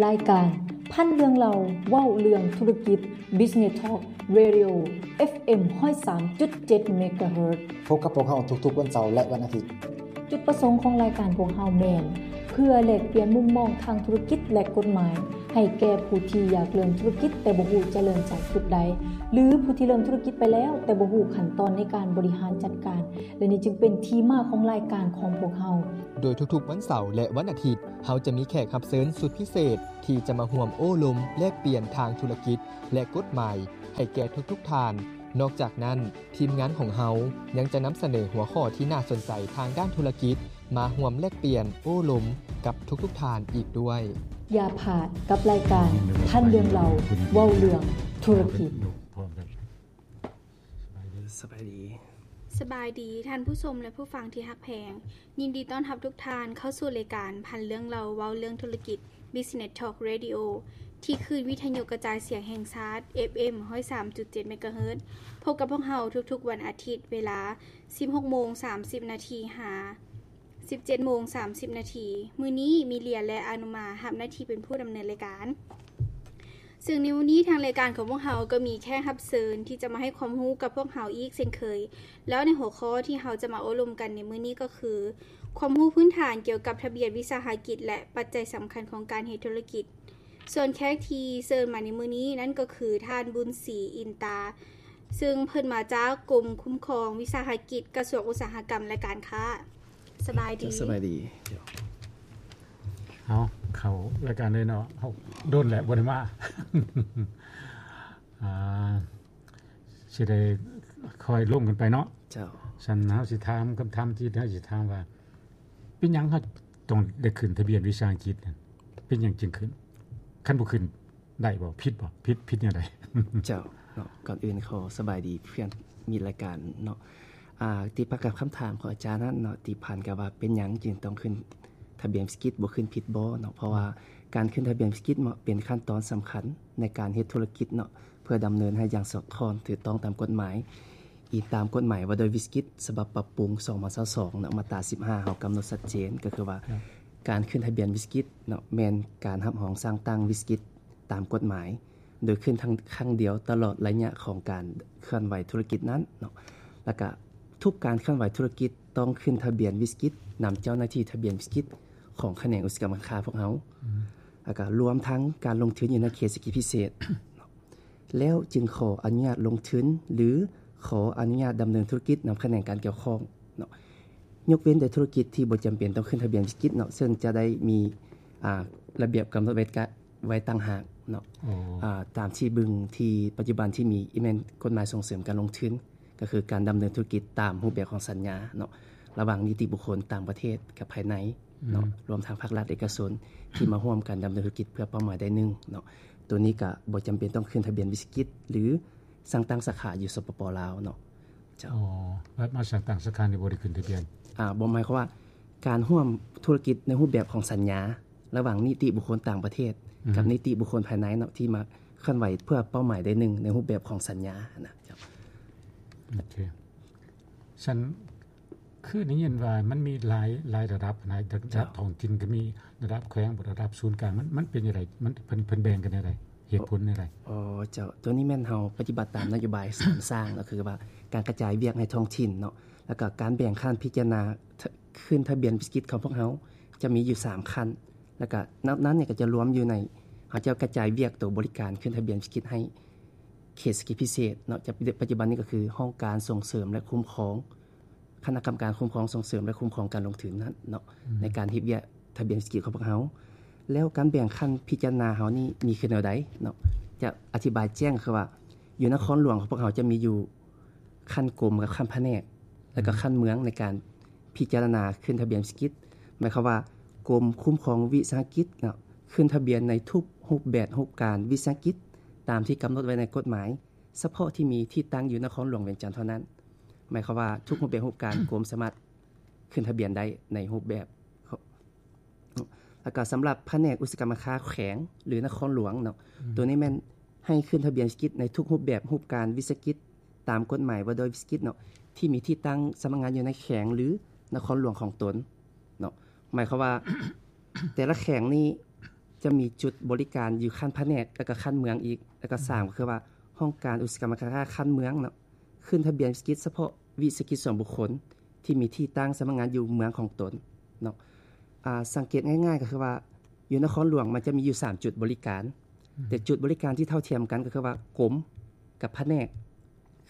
ລາຍການພັນເລື່ອງເລົ່າເວົ້າເລື່ອງທຸລະກິດ Business Talk Radio ເອັຟເອັມ ຮ້ອຍສາມຈຸດເຈັດ ເມກາເຮີດ. ພົບກັບພວກເຮົາທຸກໆວັນເສົາ ແລະ ວັນອາທິດ. ຈຸດປະສົງຂອງລາຍການພວກເຮົາແມ່ນ ເພື່ອແລກປ່ຽນມຸມມອງທາງທຸລະກິດ ແລະ ກົດໝາຍ ໃຫ້ແກ່ຜູ້ທີ່ຢາກເລີ່ມທຸລະກິດ ແຕ່ບໍ່ຮູ້ຈະເລີ່ມຈາກຈຸດໃດ ຫຼື ຜູ້ທີ່ເລີ່ມທຸລະກິດໄປແລ້ວ ແຕ່ບໍ່ຮູ້ຂັ້ນຕອນໃນການບໍລິຫານຈັດການ ແລະ ນີ້ຈຶ່ງເປັນທີ່ມາຂອງລາຍການຂອງພວກເຮົາ. ໂດຍທຸກໆວັນເສົາ ແລະ ວັນອາທິດ ເຮົາຈະມີແຂກຮັບເຊີນສຸດພິເສດ ທີ່ຈະມາຮ່ວມໂອ້ລົມແລກປ່ຽນທາງທຸລະກິດ ແລະ ກົດໝາຍ ໃຫ້ແກ່ທຸກໆທ່ານ. ນອກຈາກນັ້ນ, ທີມງານຂອງເຮົາຍັງຈະນຳສະເໜີຫົວຂໍ້ທີ່ໜ້າສົນໃຈທາງດ້ານທຸລະກິດ ມາຮ່ວມແລກປ່ຽນໂອ້ລົມກັບທຸກໆທ່ານອີກດ້ວຍ. ຢ່າພາດກັບລາຍການພັນເລື່ອງເລົ່າເວົ້າເລື່ອງທຸລະກິດ. ສະບາຍດີ ສະບາຍດີ ສະບາຍດີທ່ານຜູ້ຊົມ ແລະ ຜູ້ຟັງທີ່ຮັກແພງ. ຍິນດີຕ້ອນຮັບທຸກທ່ານເຂົ້າສູ່ລາຍການພັນເລື່ອງເລົ່າເວົ້າເລື່ອງທຸລະກິດ Business Talk Radio ທີ່ຄື້ນວິທະຍຸກະຈາຍສຽງແຫ່ງຊາດ ເອັຟເອັມ ຮ້ອຍສາມຈຸດເຈັດ ເມກາເຮີດ. ພົບກັບພວກເຮົາທຸກໆວັນອາທິດ ເວລາ ສິບຫົກໂມງສາມສິບນາທີ ຫາ ສິບເຈັດໂມງສາມສິບນາທີ. ມື້ນີ້ມີເລຍ ແລະ ອານຸມາ ຮັບໜ້າທີ່ເປັນຜູ້ດຳເນີນລາຍການ. ເຊິ່ງໃນມື້ນີ້ທາງລາຍການຂອງພວກເຮົາກໍມີແຂກຮັບເຊີນທີ່ຈະມາໃຫ້ຄວາມຮູ້ກັບພວກເຮົາອີກເຊັ່ນເຄີຍ. ແລ້ວໃນຫົວຂໍ້ທີ່ເຮົາຈະມາໂອ້ລົມກັນໃນມື້ນີ້ກໍຄື ຄວາມຮູ້ພື້ນຖານກ່ຽວກັບທະບຽນວິສາຫະກິດ ແລະ ປັດໄຈສຳຄັນຂອງການເຮັດທຸລະກິດ. ສ່ວນແຂກທີ່ເຊີນມາໃນມື້ນີ້ນັ້ນກໍຄືທ່ານ ບຸນສີ ອິນຕາ ເຊິ່ງເພິ່ນມາຈາກກົມຄຸ້ມຄອງວິສາຫະກິດ ກະຊວງອຸດສາຫະກຳ ແລະ ການຄ້າ. ສະບາຍດີ ສະບາຍດີ. ເອົາ ເຂົ້າລາຍການເລີຍເນາະ. ເຮົາດົນແຫຼະບໍ່ໄດ້ມາ ອ່າ ຊິໄດ້ຄ່ອຍລົມກັນໄປເນາະ. ເຈົ້າ. ຊັ້ນເຮົາຊິຖາມຄຳຖາມທີ່ເຮົາຊິຖາມວ່າ ເປັນຫຍັງເຮົາຕ້ອງໄດ້ຂຶ້ນທະບຽນວິສາຫະກິດ? ເປັນຫຍັງຈຶ່ງຂຶ້ນ? ຄັນບໍ່ຂຶ້ນ ໄດ້ບໍ່? ຜິດບໍ່? ຜິດ ຜິດແນວໃດ? ເຈົ້າເນາະ ກ່ອນອື່ນຂໍສະບາຍດີເພື່ອນມິດລາຍການເນາະ. ອ່າ ຕິດປະກັບຄຳຖາມຂອງອາຈານນັ້ນເນາະ ທີ່ຜ່ານກັບວ່າເປັນຫຍັງຈຶ່ງຕ້ອງຂຶ້ນທະບຽນວິສາຫະກິດ ບໍ່ຂຶ້ນຜິດບໍ່ເນາະ? ເພາະວ່າການຂຶ້ນທະບຽນວິສາຫະກິດເນາະ ເປັນຂັ້ນຕອນສຳຄັນໃນການເຮັດທຸລະກິດເນາະ ເພື່ອດຳເນີນໃຫ້ຢ່າງສອດຄ່ອງຖືກຕ້ອງຕາມກົດໝາຍ. ອີງຕາມກົດໝາຍວ່າດ້ວຍວິສາຫະກິດ ສະບັບປັບປຸງ ສອງພັນຊາວສອງເນາະ ມາດຕາ ສິບຫ້າ ເຮົາກຳນົດຊັດເຈນ ກໍຄືວ່າ ເຈົ້າ ການຂຶ້ນທະບຽນວິສາຫະກິດເນາະ ແມ່ນການຮັບຮອງສ້າງຕັ້ງວິສາຫະກິດ ຕາມກົດໝາຍ ໂດຍຂຶ້ນທັງຄັ້ງດຽວຕະຫຼອດໄລຍະຂອງການເຄື່ອນໄຫວທຸລະກິດນັ້ນເນາະ. ແລ້ວກະທຸກການເຄື່ອນໄຫວທຸລະກິດຕ້ອງຂຶ້ນທະບຽນວິສາຫະກິດນຳເຈົ້າໜ້າທີ່ທະບຽນວິສາຫະກິດຂອງຂະແໜງອຸດສາຫະກຳການຄ້າພວກເຮົາ. ອືມ. ແລ້ວກະລວມທັງການລົງທຶນຢູ່ໃນເຂດເສດຖະກິດພິເສດເນາະ ແລ້ວຈຶ່ງຂໍອະນຸຍາດລົງທຶນ ຫຼື ຂໍອະນຸຍາດດຳເນີນທຸລະກິດນຳຂະແໜງການກ່ຽວຂ້ອງເນາະ. ຍົກເວັ້ນແຕ່ທຸລະກິດທີ່ບໍ່ຈຳເປັນຕ້ອງຂຶ້ນທະບຽນວິສາຫະກິດເນາະ ເຊິ່ງຈະໄດ້ມີ ອ່າ ລະບຽບກຳນົດໄວ້ ກະ ໄວ້ຕ່າງຫາກເນາະ. ອໍ. ອ່າ ຕາມທີ່ເບິ່ງທີ່ປັດຈຸບັນທີ່ມີ ແມ່ນກົດໝາຍສົ່ງເສີມການລົງທຶນ ກໍຄືການດຳເນີນທຸລະກິດຕາມຮູບແບບຂອງສັນຍາເນາະ ລະຫວ່າງນິຕິບຸກຄົນຕ່າງປະເທດກັບພາຍໃນເນາະ ອືມ ລວມທັງພາກລັດເອກະຊົນທີ່ມາຮ່ວມກັນດຳເນີນທຸລະກິດເພື່ອເປົ້າໝາຍໃດໜຶ່ງເນາະ. ໂຕນີ້ກະບໍ່ຈຳເປັນຕ້ອງຂຶ້ນທະບຽນວິສາຫະກິດ ຫຼື ສ້າງຕັ້ງສາຂາຢູ່ ສປປ ລາວເນາະ. ເຈົ້າ. ອໍ ແບບມາສ້າງຕັ້ງສາຂານີ້ບໍ່ໄດ້ຂຶ້ນທະບຽນ? ອ່າ ບໍ່ ໝາຍຄວາມວ່າການຮ່ວມທຸລະກິດໃນຮູບແບບຂອງສັນຍາ ລະຫວ່າງນິຕິບຸກຄົນຕ່າງປະເທດ ອືມ ກັບນິຕິບຸກຄົນພາຍໃນເນາະ ທີ່ມາເຄື່ອນໄຫວເພື່ອເປົ້າໝາຍໃດໜຶ່ງໃນຮູບແບບຂອງສັນຍານະ. ເຈົ້າ. ໂອເຄ ຊັ້ນ ຄືໄດ້ຍິນວ່າມັນມີຫຼາຍ ຫຼາຍລະດັບນະ ລະດັບ ເຈົ້າ ທ້ອງຖິ່ນກໍມີ ລະດັບແຂວງ ລະດັບສູນກາງ ມັນ ມັນເປັນຈັ່ງໃດ? ມັນ ເພິ່ນ ເພິ່ນແບ່ງກັນແນວໃດ? ເຫດຜົນແນວໃດ? ອໍ ເຈົ້າ ໂຕນີ້ແມ່ນເຮົາປະຕິບັດຕາມນະໂຍບາຍສາມສ້າງເນາະ ກໍຄືວ່າການກະຈາຍວຽກໃຫ້ທ້ອງຖິ່ນເນາະ ແລ້ວກໍການແບ່ງຂັ້ນພິຈາລະນາ ຂ- ຂຶ້ນທະບຽນວິສາຫະກິດຂອງພວກເຮົາຈະມີຢູ່ສາມຂັ້ນ ແລ້ວກໍນັບນັ້ນນີ້ກໍຈະລວມຢູ່ໃນ ເຮົາຈະກະຈາຍວຽກໂຕບໍລິການຂຶ້ນທະບຽນວິສາຫະກິດໃຫ້ເຂດເສດຖະກິດພິເສດເນາະ ຈະ ປັດຈຸບັນນີ້ກໍຄືຫ້ອງການສົ່ງເສີມ ແລະ ຄຸ້ມຄອງ ຄະນະກຳມະການຄຸ້ມຄອງສົ່ງເສີມ ແລະ ຄຸ້ມຄອງການລົງທຶນນັ້ນເນາະ ອືມ ໃນການເຮັດວຽກທະບຽນເສດຖະກິດຂອງພວກເຮົາ. ແລ້ວການແບ່ງຂັ້ນພິຈາລະນາເຮົານີ້ມີຄືແນວໃດເນາະ? ຈະອະທິບາຍແຈ້ງຄືວ່າ ຢູ່ນະຄອນຫຼວງຂອງພວກເຮົາຈະມີຢູ່ຂັ້ນກົມກັບຂັ້ນພະແນກ ແລ້ວກໍ ອືມ ຂັ້ນເມືອງໃນການພິຈາລະນາຂຶ້ນທະບຽນເສດຖະກິດ. ໝາຍຄວາມວ່າກົມຄຸ້ມຄອງວິສາຫະກິດເນາະ ຂຶ້ນທະບຽນໃນທຸກຮູບແບບຮູບການວິສາຫະກິດ ຕາມທີ່ກຳນົດໄວ້ໃນກົດໝາຍ ສະເພາະທີ່ມີທີ່ຕັ້ງຢູ່ນະຄອນຫຼວງວຽງຈັນເທົ່ານັ້ນ. ໝາຍຄວາມວ່າທຸກຮູບແບບຮູບການ ກົມສາມາດຂຶ້ນທະບຽນໄດ້ໃນຮູບແບບ ແລ້ວກໍສຳລັບພະແນກອຸດສາຫະກຳການຄ້າແຂວງ ຫຼື ນະຄອນຫຼວງເນາະ ອືມ ໂຕນີ້ແມ່ນໃຫ້ຂຶ້ນທະບຽນເສດຖະກິດໃນທຸກຮູບແບບຮູບການວິສາຫະກິດ ຕາມກົດໝາຍວ່າດ້ວຍວິສາຫະກິດເນາະ ທີ່ມີທີ່ຕັ້ງສຳນັກງານຢູ່ໃນແຂວງ ຫຼື ນະຄອນຫຼວງຂອງຕົນເນາະ. ໝາຍຄວາມວ່າ ແຕ່ລະແຂວງນີ້ ຈະມີຈຸດບໍລິການຢູ່ຂັ້ນພະແນກ ແລ້ວກໍຂັ້ນເມືອງອີກ ແລ້ວກໍສາມກໍຄືວ່າຫ້ອງການອຸດສາຫະກຳການຄ້າຂັ້ນເມືອງເນາະ ຂຶ້ນທະບຽນວິສາຫະກິດສະເພາະວິສາຫະກິດສ່ວນບຸກຄົນ ທີ່ມີທີ່ຕັ້ງສຳນັກງານຢູ່ເມືອງຂອງຕົນເນາະ. ອາ ສັງເກດງ່າຍໆກໍຄືວ່າ ຢູ່ນະຄອນຫຼວງມັນຈະມີຢູ່ສາມຈຸດບໍລິການ ແຕ່ຈຸດບໍລິການທີ່ເທົ່າທຽມກັນກໍຄືວ່າກົມກັບພະແນກ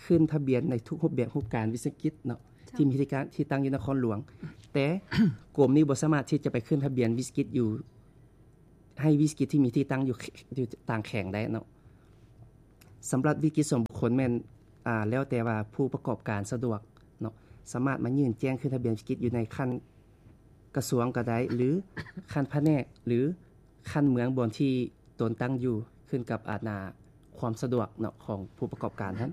ຂຶ້ນທະບຽນໃນທຸກຮູບແບບຮູບການວິສາຫະກິດເນາະ ທີ່ມີທີ່ຕັ້ງ ທີ່ຕັ້ງຢູ່ນະຄອນຫຼວງ ແຕ່ກົມນີ້ບໍ່ສາມາດທີ່ຈະໄປຂຶ້ນທະບຽນວິສາຫະກິດຢູ່ ໃຫ້ວິສາຫະກິດທີ່ມີທີ່ຕັ້ງຢູ່ ຢູ່ຕ່າງແຂວງໄດ້ເນາະ. ສຳລັບວິສາຫະກິດສ່ວນບຸກຄົນແມ່ນ ອາ ແລ້ວແຕ່ວ່າຜູ້ປະກອບການສະດວກເນາະ ສາມາດມາຍື່ນແຈ້ງຂຶ້ນທະບຽນວິສາຫະກິດຢູ່ໃນຂັ້ນກະຊວງກໍໄດ້ ຫຼື ຂັ້ນພະແນກ ຫຼື ຂັ້ນເມືອງບ່ອນທີ່ຕົນຕັ້ງຢູ່ ຂຶ້ນກັບ ອາ ຄວາມສະດວກເນາະ ຂອງຜູ້ປະກອບການຫັ້ນ.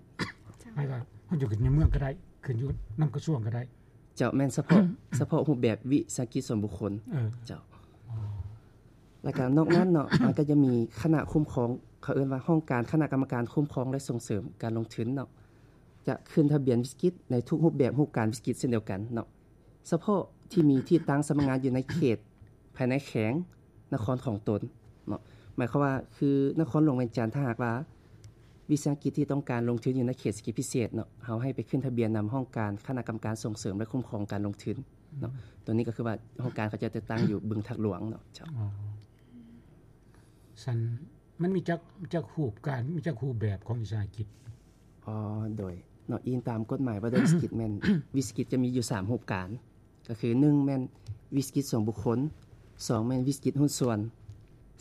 ເຮົາຢູ່ໃນເມືອງກໍໄດ້ ຂຶ້ນຢູ່ນຳກະຊວງກໍໄດ້. ເຈົ້າ ແມ່ນສະເພາະ ສະເພາະຮູບແບບວິສາຫະກິດສ່ວນບຸກຄົນ. ເອີ ເຈົ້າ. ແລ້ວກໍນອກນັ້ນເນາະ ມັນກໍຈະມີຄະນະຄຸ້ມຄອງ ເຂົາເອີ້ນວ່າຫ້ອງການຄະນະກຳມະການຄຸ້ມຄອງ ແລະ ສົ່ງເສີມການລົງທຶນເນາະ ຈະຂຶ້ນທະບຽນວິສາຫະກິດໃນທຸກຮູບແບບຮູບການວິສາຫະກິດເຊັ່ນດຽວກັນເນາະ. ສະເພາະທີ່ມີທີ່ຕັ້ງສຳນັກງານຢູ່ໃນເຂດພາຍໃນແຂວງນະຄອນຂອງຕົນເນາະ ໝາຍຄວາມວ່າ ຄືນະຄອນຫຼວງວຽງຈັນ ຖ້າຫາກວ່າວິສາຫະກິດທີ່ຕ້ອງການລົງທຶນຢູ່ໃນເຂດເສດຖະກິດພິເສດເນາະ ເຮົາໃຫ້ໄປຂຶ້ນທະບຽນນຳຫ້ອງການຄະນະກຳມະການສົ່ງເສີມ ແລະ ຄຸ້ມຄອງການລົງທຶນເນາະ. ຕົວນີ້ກໍຄືວ່າຫ້ອງການເຂົາເຈົ້າຈະຕັ້ງຢູ່ບຶງທາດຫຼວງເນາະ. ເຈົ້າ. ຊັ້ນ ມັນມີຈັກ ຈັກຮູບການ ມີຈັກຮູບແບບຂອງວິສາຫະກິດ? ອໍ ໂດຍເນາະ ອີງຕາມກົດໝາຍວ່າດ້ວຍວິສາຫະກິດແມ່ນ ວິສາຫະກິດຈະມີຢູ່ສາມຮູບການ ກໍຄື ໜຶ່ງ ແມ່ນວິສາຫະກິດສ່ວນບຸກຄົນ, ສອງ ແມ່ນວິສາຫະກິດຫຸ້ນສ່ວນ,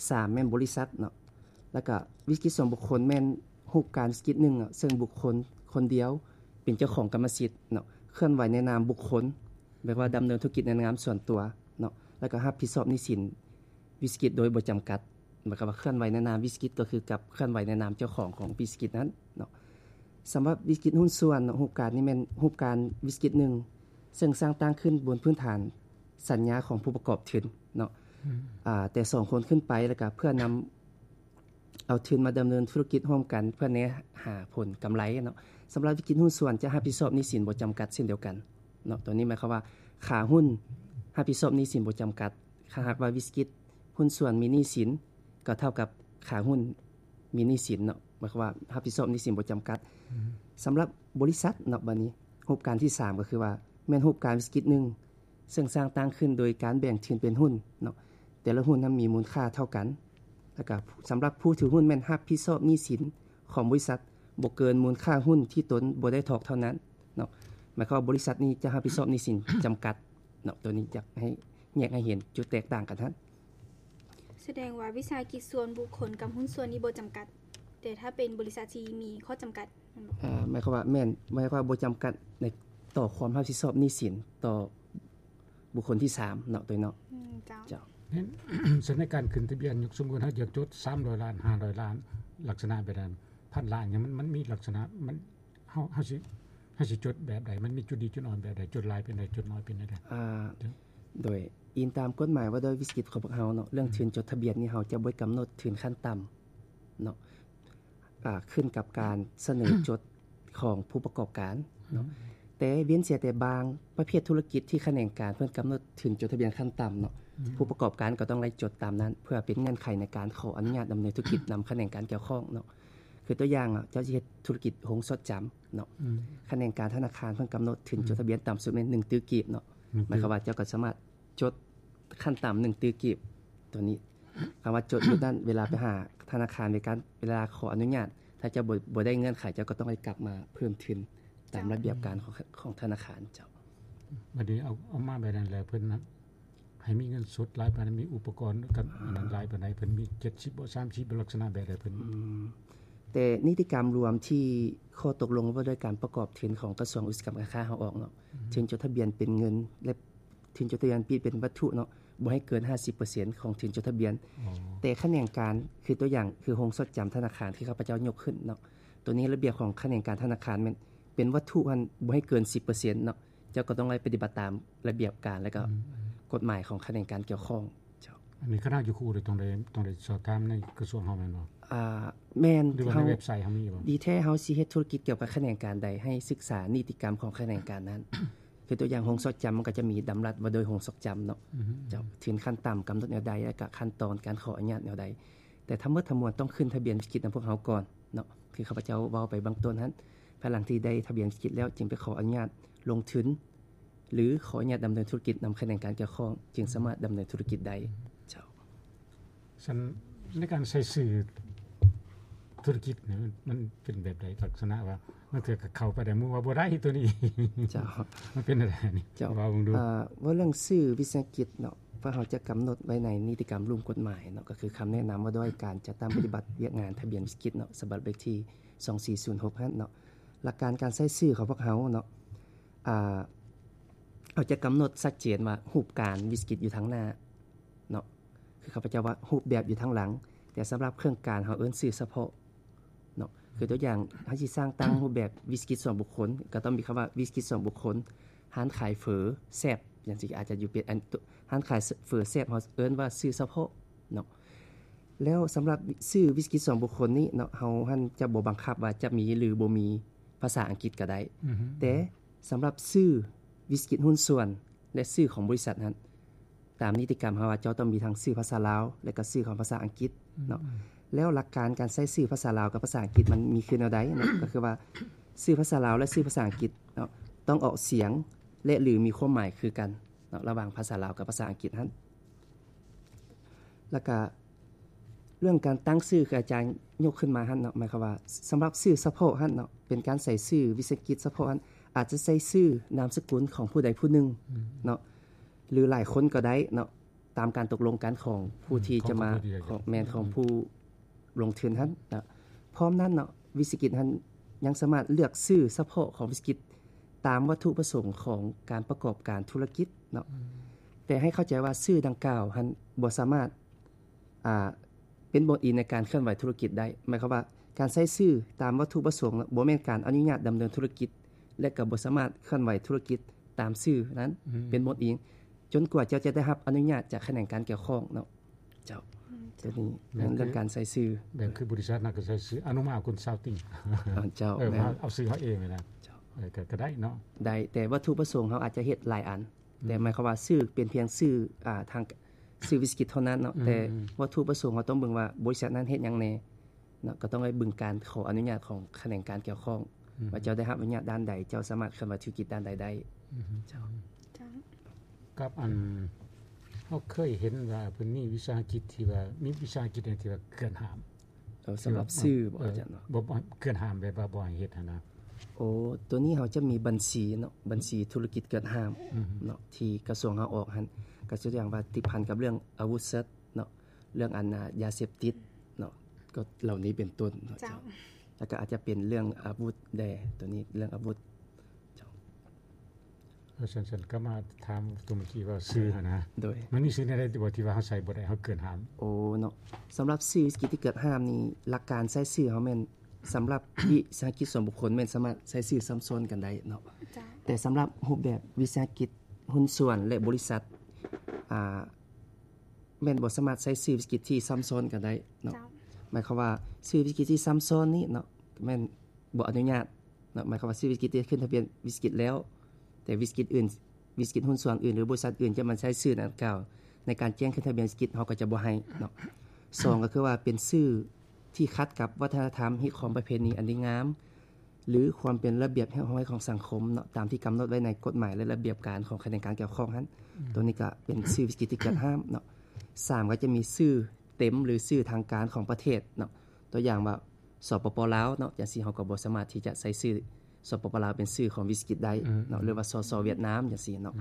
ສາມ ແມ່ນບໍລິສັດເນາະ. ແລ້ວກະວິສາຫະກິດສ່ວນບຸກຄົນແມ່ນຮູບການວິສາຫະກິດໜຶ່ງເນາະ ເຊິ່ງບຸກຄົນຄົນດຽວເປັນເຈົ້າຂອງກຳມະສິດເນາະ ເຄື່ອນໄຫວໃນນາມບຸກຄົນ ແບບວ່າດຳເນີນທຸລະກິດໃນນາມສ່ວນຕົວເນາະ ແລ້ວກະຮັບຜິດຊອບໜີ້ສິນ ວິສາຫະກິດໂດຍບໍ່ຈຳກັດ ໝາຍຄວາມວ່າເຄື່ອນໄຫວໃນນາມວິສາຫະກິດ ກໍຄືກັບເຄື່ອນໄຫວໃນນາມເຈົ້າຂອງຂອງວິສາຫະກິດນັ້ນເນາະ. ສຳລັບວິສາຫະກິດຫຸ້ນສ່ວນເນາະ ຮູບການນີ້ແມ່ນຮູບການວິສາຫະກິດໜຶ່ງ ເຊິ່ງສ້າງຕັ້ງຂຶ້ນບົນພື້ນຖານສັນຍາຂອງຜູ້ປະກອບທຶນເນາະ ອາ ແຕ່ສອງຄົນຂຶ້ນໄປ ແລ້ວກະເພື່ອນຳ ເອົາທຶນມາດຳເນີນທຸລະກິດຮ່ວມກັນເພື່ອແນຫາຜົນກຳໄລເນາະ. ສຳລັບວິສາຫະກິດຫຸ້ນສ່ວນຈະຮັບຜິດຊອບໜີ້ສິນບໍ່ຈຳກັດເຊັ່ນດຽວກັນເນາະ. ຕົວນີ້ໝາຍຄວາມວ່າຂາຫຸ້ນຮັບຜິດຊອບໜີ້ສິນບໍ່ຈຳກັດ. ຖ້າຫາກວ່າວິສາຫະກິດຫຸ້ນສ່ວນມີໜີ້ສິນ ກໍເທົ່າກັບຂາຫຸ້ນມີໜີ້ສິນເນາະ. ໝາຍຄວາມວ່າຮັບຜິດຊອບໜີ້ສິນບໍ່ຈຳກັດ. ສຳລັບບໍລິສັດເນາະ ບາດນີ້ຮູບການທີສາມກໍຄືວ່າແມ່ນຮູບການວິສາຫະກິດໜຶ່ງ ເຊິ່ງສ້າງຕັ້ງຂຶ້ນໂດຍການແບ່ງທຶນເປັນຫຸ້ນເນາະ ແຕ່ລະຫຸ້ນນັ້ນມີມູນຄ່າເທົ່າກັນ ແລ້ວກະສຳລັບຜູ້ຖືຫຸ້ນແມ່ນຮັບຜິດຊອບໜີ້ສິນຂອງບໍລິສັດບໍ່ເກີນມູນຄ່າຫຸ້ນທີ່ຕົນບໍ່ໄດ້ຖອກເທົ່ານັ້ນເນາະ. ໝາຍຄວາມວ່າບໍລິສັດນີ້ຈະຮັບຜິດຊອບໜີ້ສິນຈຳກັດເນາະ. ໂຕນີ້ຢາກໃຫ້ແຍກໃຫ້ເຫັນຈຸດແຕກຕ່າງກັນຫັ້ນ. ສະແດງວ່າວິສາຫະກິດສ່ວນບຸກຄົນກັບຫຸ້ນສ່ວນນີ້ບໍ່ຈຳກັດ ແຕ່ຖ້າເປັນບໍລິສັດທີ່ມີຂໍ້ຈຳກັດ ເອີ ໝາຍຄວາມວ່າ ແມ່ນ ໝາຍຄວາມວ່າບໍ່ຈຳກັດໃນຕໍ່ຄວາມຮັບຜິດຊອບໜີ້ສິນຕໍ່ບຸກຄົນທີສາມເນາະ ໂຕເນາະ. ອືມ ເຈົ້າ ເຈົ້າ. ເຫັນ ສະເໜີການຂຶ້ນທະບຽນ ຍົກສົມມຸດເຮົາຢາກຈົດສາມຮ້ອຍລ້ານ ຫ້າຮ້ອຍລ້ານ ລັກສະນະແບບນັ້ນ ພັນລ້ານຫຍັງ ມັນ ມັນມີລັກສະນະ ມັນ ເຮົາ ເຮົາຊິ ເຮົາຊິຈົດແບບໃດ? ມັນມີຈຸດດີຈຸດອ່ອນແບບໃດ? ຈົດຫຼາຍປານໃດ? ຈົດໜ້ອຍປານໃດ? ອ່າ ໂດຍອີງຕາມກົດໝາຍວ່າດ້ວຍວິສາຫະກິດຂອງພວກເຮົາເນາະ ເລື່ອງທຶນຈົດທະບຽນນີ້ ເຮົາຈະບໍ່ກຳນົດທຶນຂັ້ນຕ່ຳເນາະ ອາ ຂຶ້ນກັບການສະເໜີຈົດຂອງຜູ້ປະກອບການເນາະ. ແຕ່ເວັ້ນເສຍແຕ່ບາງປະເພດທຸລະກິດທີ່ຂະແໜງການເພິ່ນກຳນົດທຶນຈົດທະບຽນຂັ້ນຕ່ຳເນາະ ຜູ້ປະກອບການກໍຕ້ອງໄດ້ຈົດຕາມນັ້ນ ເພື່ອເປັນເງື່ອນໄຂໃນການຂໍອະນຸຍາດດຳເນີນທຸລະກິດນຳຂະແໜງການກ່ຽວຂ້ອງເນາະ. ຄືຕົວຢ່າງ ເຈົ້າຊິເຮັດທຸລະກິດໂຮງຊອດຈຳເນາະ ຂະແໜງການທະນາຄານເພິ່ນກຳນົດທຶນຈົດທະບຽນຕ່ຳສຸດແມ່ນໜຶ່ງຕື້ກີບເນາະ. ໝາຍຄວາມວ່າເຈົ້າກໍສາມາດຈົດຂັ້ນຕ່ຳໜຶ່ງຕື້ກີບ. ຕົວນີ້ຄຳວ່າຈົດຢູ່ນັ້ນ ເວລາໄປຫາທະນາຄານ ໃນການເວລາຂໍອະນຸຍາດ ຖ້າເຈົ້າບໍ່ ບໍ່ໄດ້ເງື່ອນໄຂ ເຈົ້າກໍຕ້ອງໄດ້ກັບມາເພີ່ມທຶນຕາມລະບຽບການຂອງ ຂອງທະນາຄານເຈົ້າ. ບັດນີ້ເອົາ ເອົາມາແບບນັ້ນແລ້ວ ເພິ່ນໃຫ້ມີເງິນສົດຫຼາຍປານໃດ? ມີອຸປະກອນກັບອັນນັ້ນຫຼາຍປານໃດ? ເພິ່ນມີເຈັດສິບບໍ່ ສາມສິບບໍ່ ລັກສະນະແບບໃດ? ເພິ່ນ ອືມ ແຕ່ນິຕິກຳລວມທີ່ຂໍ້ຕົກລົງວ່າດ້ວຍການປະກອບທຶນຂອງກະຊວງອຸດສາຫະກຳການຄ້າເຮົາອອກເນາະ ທຶນຈົດທະບຽນເປັນເງິນ ແລະ ທຶນຈົດທະບຽນປິດເປັນວັດຖຸເນາະ ບໍ່ໃຫ້ເກີນຫ້າສິບເປີເຊັນຂອງທຶນຈົດທະບຽນ. ແຕ່ຂະແໜງການ ຄືຕົວຢ່າງ ຄືໂຮງຊອດຈຳທະນາຄານທີ່ຂ້າພະເຈົ້າຍົກຂຶ້ນເນາະ ໂຕນີ້ລະບຽບຂອງຂະແໜງການທະນາຄານແມ່ນ ເປັນວັດຖຸຫັ້ນບໍ່ໃຫ້ເກີນສິບເປີເຊັນເນາະ. ເຈົ້າກໍຕ້ອງໄດ້ປະຕິບັດຕາມລະບຽບການ ແລະ ກໍ ອືມ ກົດໝາຍຂອງຂະແໜງການກ່ຽວຂ້ອງເຈົ້າ. ອັນນີ້ຄະນະຢູ່ຄູໂດຍ ຕ້ອງໄດ້ ຕ້ອງໄດ້ສອບຖາມໃນກະຊວງເຮົາແມ່ນບໍ່? ອ່າ ແມ່ນ. ຫຼືວ່າໃນເວັບໄຊເຮົາມີບໍ່? ດີແທ້ເຮົາຊິເຮັດທຸລະກິດກ່ຽວກັບຂະແໜງການໃດ ໃຫ້ສຶກສານິຕິກຳຂອງຂະແໜງການນັ້ນ. ຄືຕົວຢ່າງໂຮງຊອກຈຳ ມັນກໍຈະມີດຳລັດວ່າໂດຍໂຮງຊອກຈຳເນາະ ເຈົ້າ ທຶນຂັ້ນຕ່ຳກຳນົດແນວໃດ ແລະກະຂັ້ນຕອນການຂໍອະນຸຍາດແນວໃດ ແຕ່ທັງໝົດທັງມວນຕ້ອງຂຶ້ນທະບຽນວິສະກິດນຳພວກເຮົາກ່ອນເນາະ ຄືຂ້າພະເຈົ້າເວົ້າໄປເບື້ອງຕົ້ນຫັ້ນ ພາຍຫຼັງທີ່ໄດ້ທະບຽນວິສະກິດແລ້ວ ຈຶ່ງໄປຂໍອະນຸຍາດລົງທຶນ ຫຼື ຂໍອະນຸຍາດດຳເນີນທຸລະກິດນຳຂະແໜງການກ່ຽວຂ້ອງ ຈຶ່ງສາມາດດຳເນີນທຸລະກິດໄດ້. ເຈົ້າ ຊັ້ນໃນການໃຊ້ຊື່ທຸລະກິດນີ້ ມັນເປັນແບບໃດ? ລັກສະນະວ່າ ບາງເທື່ອກໍເຂົ້າໄປໄດ້ ໝູ່ວ່າບໍ່ໄດ້ໂຕນີ້. ເຈົ້າ ມັນເປັນແນວໃດນີ້? ເຈົ້າ ເວົ້າເບິ່ງດູ. ເອີ ເວົ້າເລື່ອງຊື່ວິສາຫະກິດເນາະ ພວກເຮົາຈະກຳນົດໄວ້ໃນນິຕິກຳລຸ່ມກົດໝາຍເນາະ ກໍຄືຄຳແນະນຳວ່າດ້ວຍການຈັດຕັ້ງປະຕິບັດວຽກງານທະບຽນວິສາຫະກິດເນາະ ສະບັບເລກທີສອງສີ່ສູນຫົກຫັ້ນເນາະ. ຫຼັກການການໃຊ້ຊື່ຂອງພວກເຮົາເນາະ ອາ ເຮົາຈະກຳນົດຊັດເຈນວ່າຮູບການວິສາຫະກິດຢູ່ທາງໜ້າເນາະ ຄືຂ້າພະເຈົ້າວ່າຮູບແບບຢູ່ທາງຫຼັງ ແຕ່ສຳລັບເຄື່ອງການເຮົາເອີ້ນຊື່ສະເພາະເນາະ ຄືຕົວຢ່າງ ເຮົາຊິສ້າງຕັ້ງຮູບແບບວິສາຫະກິດສ່ວນບຸກຄົນ ກໍຕ້ອງມີຄຳວ່າວິສາຫະກິດສ່ວນບຸກຄົນ ຮ້ານຂາຍເຝີແຊບ ຈັ່ງຊີ້ ອາດຈະຢູ່ເປັນອັນ ຮ້ານຂາຍເຝີແຊບ ເຮົາເອີ້ນວ່າຊື່ສະເພາະເນາະ. ແລ້ວສຳລັບຊື່ວິສາຫະກິດສ່ວນບຸກຄົນນີ້ເນາະ ເຮົາຫັ້ນຈະບໍ່ບັງຄັບວ່າຈະມີ ຫຼື ບໍ່ມີພາສາອັງກິດກໍໄດ້ ແຕ່ສຳລັບຊື່ວິສາຫະກິດຫຸ້ນສ່ວນ ແລະ ຊື່ຂອງບໍລິສັດຫັ້ນ ຕາມນິຕິກຳເຮົາວ່າເຈົ້າຕ້ອງມີທັງຊື່ພາສາລາວ ແລະ ກໍຊື່ຂອງພາສາອັງກິດເນາະ. ແລ້ວຫຼັກການການໃຊ້ຊື່ພາສາລາວກັບພາສາອັງກິດມັນມີຄືແນວໃດເນາະ? ກໍຄືວ່າຊື່ພາສາລາວ ແລະ ຊື່ພາສາອັງກິດເນາະ ຕ້ອງອອກສຽງ ແລະ ຫຼື ມີຄວາມໝາຍຄືກັນເນາະ ລະຫວ່າງພາສາລາວກັບພາສາອັງກິດຫັ້ນ. ແລ້ວກະເລື່ອງການຕັ້ງຊື່ ຄືອາຈານຍົກຂຶ້ນມາຫັ້ນເນາະ ໝາຍຄວາມວ່າສຳລັບຊື່ສະເພາະຫັ້ນເນາະ ເປັນການໃສ່ຊື່ວິສາຫະກິດສະເພາະຫັ້ນ ອາດຈະໃສ່ຊື່ນາມສະກຸນຂອງຜູ້ໃດຜູ້ໜຶ່ງເນາະ ຫຼືຫຼາຍຄົນກໍໄດ້ເນາະ ຕາມການຕົກລົງກັນຂອງຜູ້ທີ່ຈະມາ ຂອງ ຂອງ ຂອງ ແມ່ນ ຂອງຜູ້ລົງທຶນຫັ້ນເນາະ. ພ້ອມນັ້ນເນາະ ວິສາຫະກິດຫັ້ນຍັງສາມາດເລືອກຊື່ສະເພາະຂອງວິສາຫະກິດຕາມວັດຖຸປະສົງຂອງການປະກອບການທຸລະກິດເນາະ ແຕ່ໃຫ້ເຂົ້າໃຈວ່າຊື່ດັ່ງກ່າວຫັ້ນບໍ່ສາມາດ ອ່າ ເປັນບ່ອນອີງໃນການເຄື່ອນໄຫວທຸລະກິດໄດ້. ໝາຍຄວາມວ່າການໃຊ້ຊື່ຕາມວັດຖຸປະສົງບໍ່ແມ່ນການອະນຸຍາດດຳເນີນທຸລະກິດ ແລະ ກໍບໍ່ສາມາດເຄື່ອນໄຫວທຸລະກິດຕາມຊື່ນັ້ນເປັນບ່ອນອີງ ຈົນກວ່າເຈົ້າຈະໄດ້ຮັບອະນຸຍາດຈາກຂະແໜງການກ່ຽວຂ້ອງເນາະ. ເຈົ້າ ໂຕນີ້ແມ່ນເລື່ອງການໃຊ້ຊື່ ແບບຄືບໍລິສັດນະກໍໃຊ້ຊື່ອະນຸມາກຸນຊາວຕິງ ເຈົ້າ ເອີ ເອົາຊື່ເຮົາເອງນະ ເຈົ້າ ເອີ ກໍ ກໍໄດ້ເນາະ ໄດ້ ແຕ່ວັດຖຸປະສົງເຮົາອາດຈະເຮັດຫຼາຍອັນ ແຕ່ໝາຍຄວາມວ່າຊື່ເປັນພຽງຊື່ ອ່າ ທາງ ຊື່ວິສາຫະກິດເທົ່ານັ້ນເນາະ ແຕ່ວັດຖຸປະສົງເຮົາຕ້ອງເບິ່ງວ່າບໍລິສັດນັ້ນເຮັດຫຍັງແດ່ເນາະ ກໍຕ້ອງໄດ້ເບິ່ງການຂໍອະນຸຍາດຂອງຂະແໜງການກ່ຽວຂ້ອງ ວ່າເຈົ້າໄດ້ຮັບອະນຸຍາດດ້ານໃດ ເຈົ້າສາມາດເຄື່ອນໄຫວທຸລະກິດດ້ານໃດໄດ້. ເຈົ້າ ກັບອັນ ເຮົາເຄີຍເຫັນວ່າເພິ່ນມີວິສາຫະກິດທີ່ວ່າ ມີວິສາຫະກິດທີ່ວ່າເກືອນຫ້າມ ເອີ ສຳລັບຊື່ບໍ່ ອາຈານເນາະ ບໍ່ ເກືອນຫ້າມແບບວ່າບໍ່ໃຫ້ເຮັດຫັ້ນນະ. ໂອ້ ໂຕນີ້ເຮົາຈະມີບັນຊີເນາະ ບັນຊີທຸລະກິດເກືອນຫ້າມເນາະ ທີ່ກະຊວງເຮົາອອກຫັ້ນ ກໍຕົວຢ່າງວ່າຕິດພັນກັບເລື່ອງອາວຸດສັດເນາະ ເລື່ອງອັນ ອາ ຢາເສບຕິດເນາະ ກໍເຫຼົ່ານີ້ເປັນຕົ້ນເນາະ ເຈົ້າ ແລ້ວກໍອາດຈະເປັນເລື່ອງອາວຸດແດ່ ໂຕນີ້ເລື່ອງອາວຸດ ເຈົ້າ ເອີ ຊັ້ນໆ ກັບມາຖາມຕົວເມື່ອກີ້ວ່າຊື່ຫັ້ນນະ ໂດຍ ມັນມີຊື່ແນວໃດບໍ່ທີ່ວ່າເຮົາໃຊ້ບໍ່ໄດ້ເຮົາເກີນຫ້າມ? ໂອ້ ເນາະ ສຳລັບຊື່ວິສາຫະກິດທີ່ເກີນຫ້າມນີ້ ຫຼັກການໃຊ້ຊື່ເຮົາແມ່ນ ສຳລັບວິສາຫະກິດສ່ວນບຸກຄົນແມ່ນສາມາດໃຊ້ຊື່ຊ້ຳຊ້ອນກັນໄດ້ເນາະ ເຈົ້າ ແຕ່ສຳລັບຮູບແບບວິສາຫະກິດຫຸ້ນສ່ວນ ແລະ ບໍລິສັດ ອ່າ ແມ່ນບໍ່ສາມາດໃຊ້ຊື່ວິສາຫະກິດທີ່ຊ້ຳຊ້ອນກັນໄດ້ເນາະ ເຈົ້າ ໝາຍຄວາມວ່າຊື່ວິສາຫະກິດທີ່ຊ້ຳຊ້ອນນີ້ເນາະ ແມ່ນບໍ່ອະນຸຍາດ ເນາະ ໝາຍຄວາມວ່າຊື່ວິສາຫະກິດທີ່ຂຶ້ນທະບຽນວິສາຫະກິດແລ້ວ ແຕ່ວິສາຫະກິດອື່ນ ວິສາຫະກິດຫຸ້ນສ່ວນອື່ນ ຫຼື ບໍລິສັດອື່ນຈະມາໃຊ້ຊື່ດັ່ງກ່າວໃນການແຈ້ງຂຶ້ນທະບຽນວິສາຫະກິດ ເຮົາກໍຈະບໍ່ໃຫ້ເນາະ. ສອງ ກໍຄືວ່າເປັນຊື່ທີ່ຂັດກັບວັດທະນະທຳ ຮີດຄອງປະເພນີອັນດີງາມ ຫຼື ຄວາມເປັນລະບຽບຮຽບຮ້ອຍຂອງສັງຄົມເນາະ ຕາມທີ່ກຳນົດໄວ້ໃນກົດໝາຍ ແລະ ລະບຽບການຂອງຂະແໜງການກ່ຽວຂ້ອງຫັ້ນ ໂຕນີ້ກໍເປັນຊື່ວິສາຫະກິດທີ່ເກີນຫ້າມເນາະ. ສາມ ກໍຈະມີຊື່ເຕັມ ຫຼື ຊື່ທາງການຂອງປະເທດເນາະ ຕົວຢ່າງວ່າ ສປປ ລາວເນາະ ຈັ່ງຊີ້ເຮົາກໍບໍ່ສາມາດທີ່ຈະໃຊ້ຊື່ ສປປ ລາວ ເປັນຊື່ຂອງວິສາຫະກິດໄດ້ເນາະ ຫຼືວ່າ ສສ ຫວຽດນາມ ຈັ່ງຊີ້ເນາະ.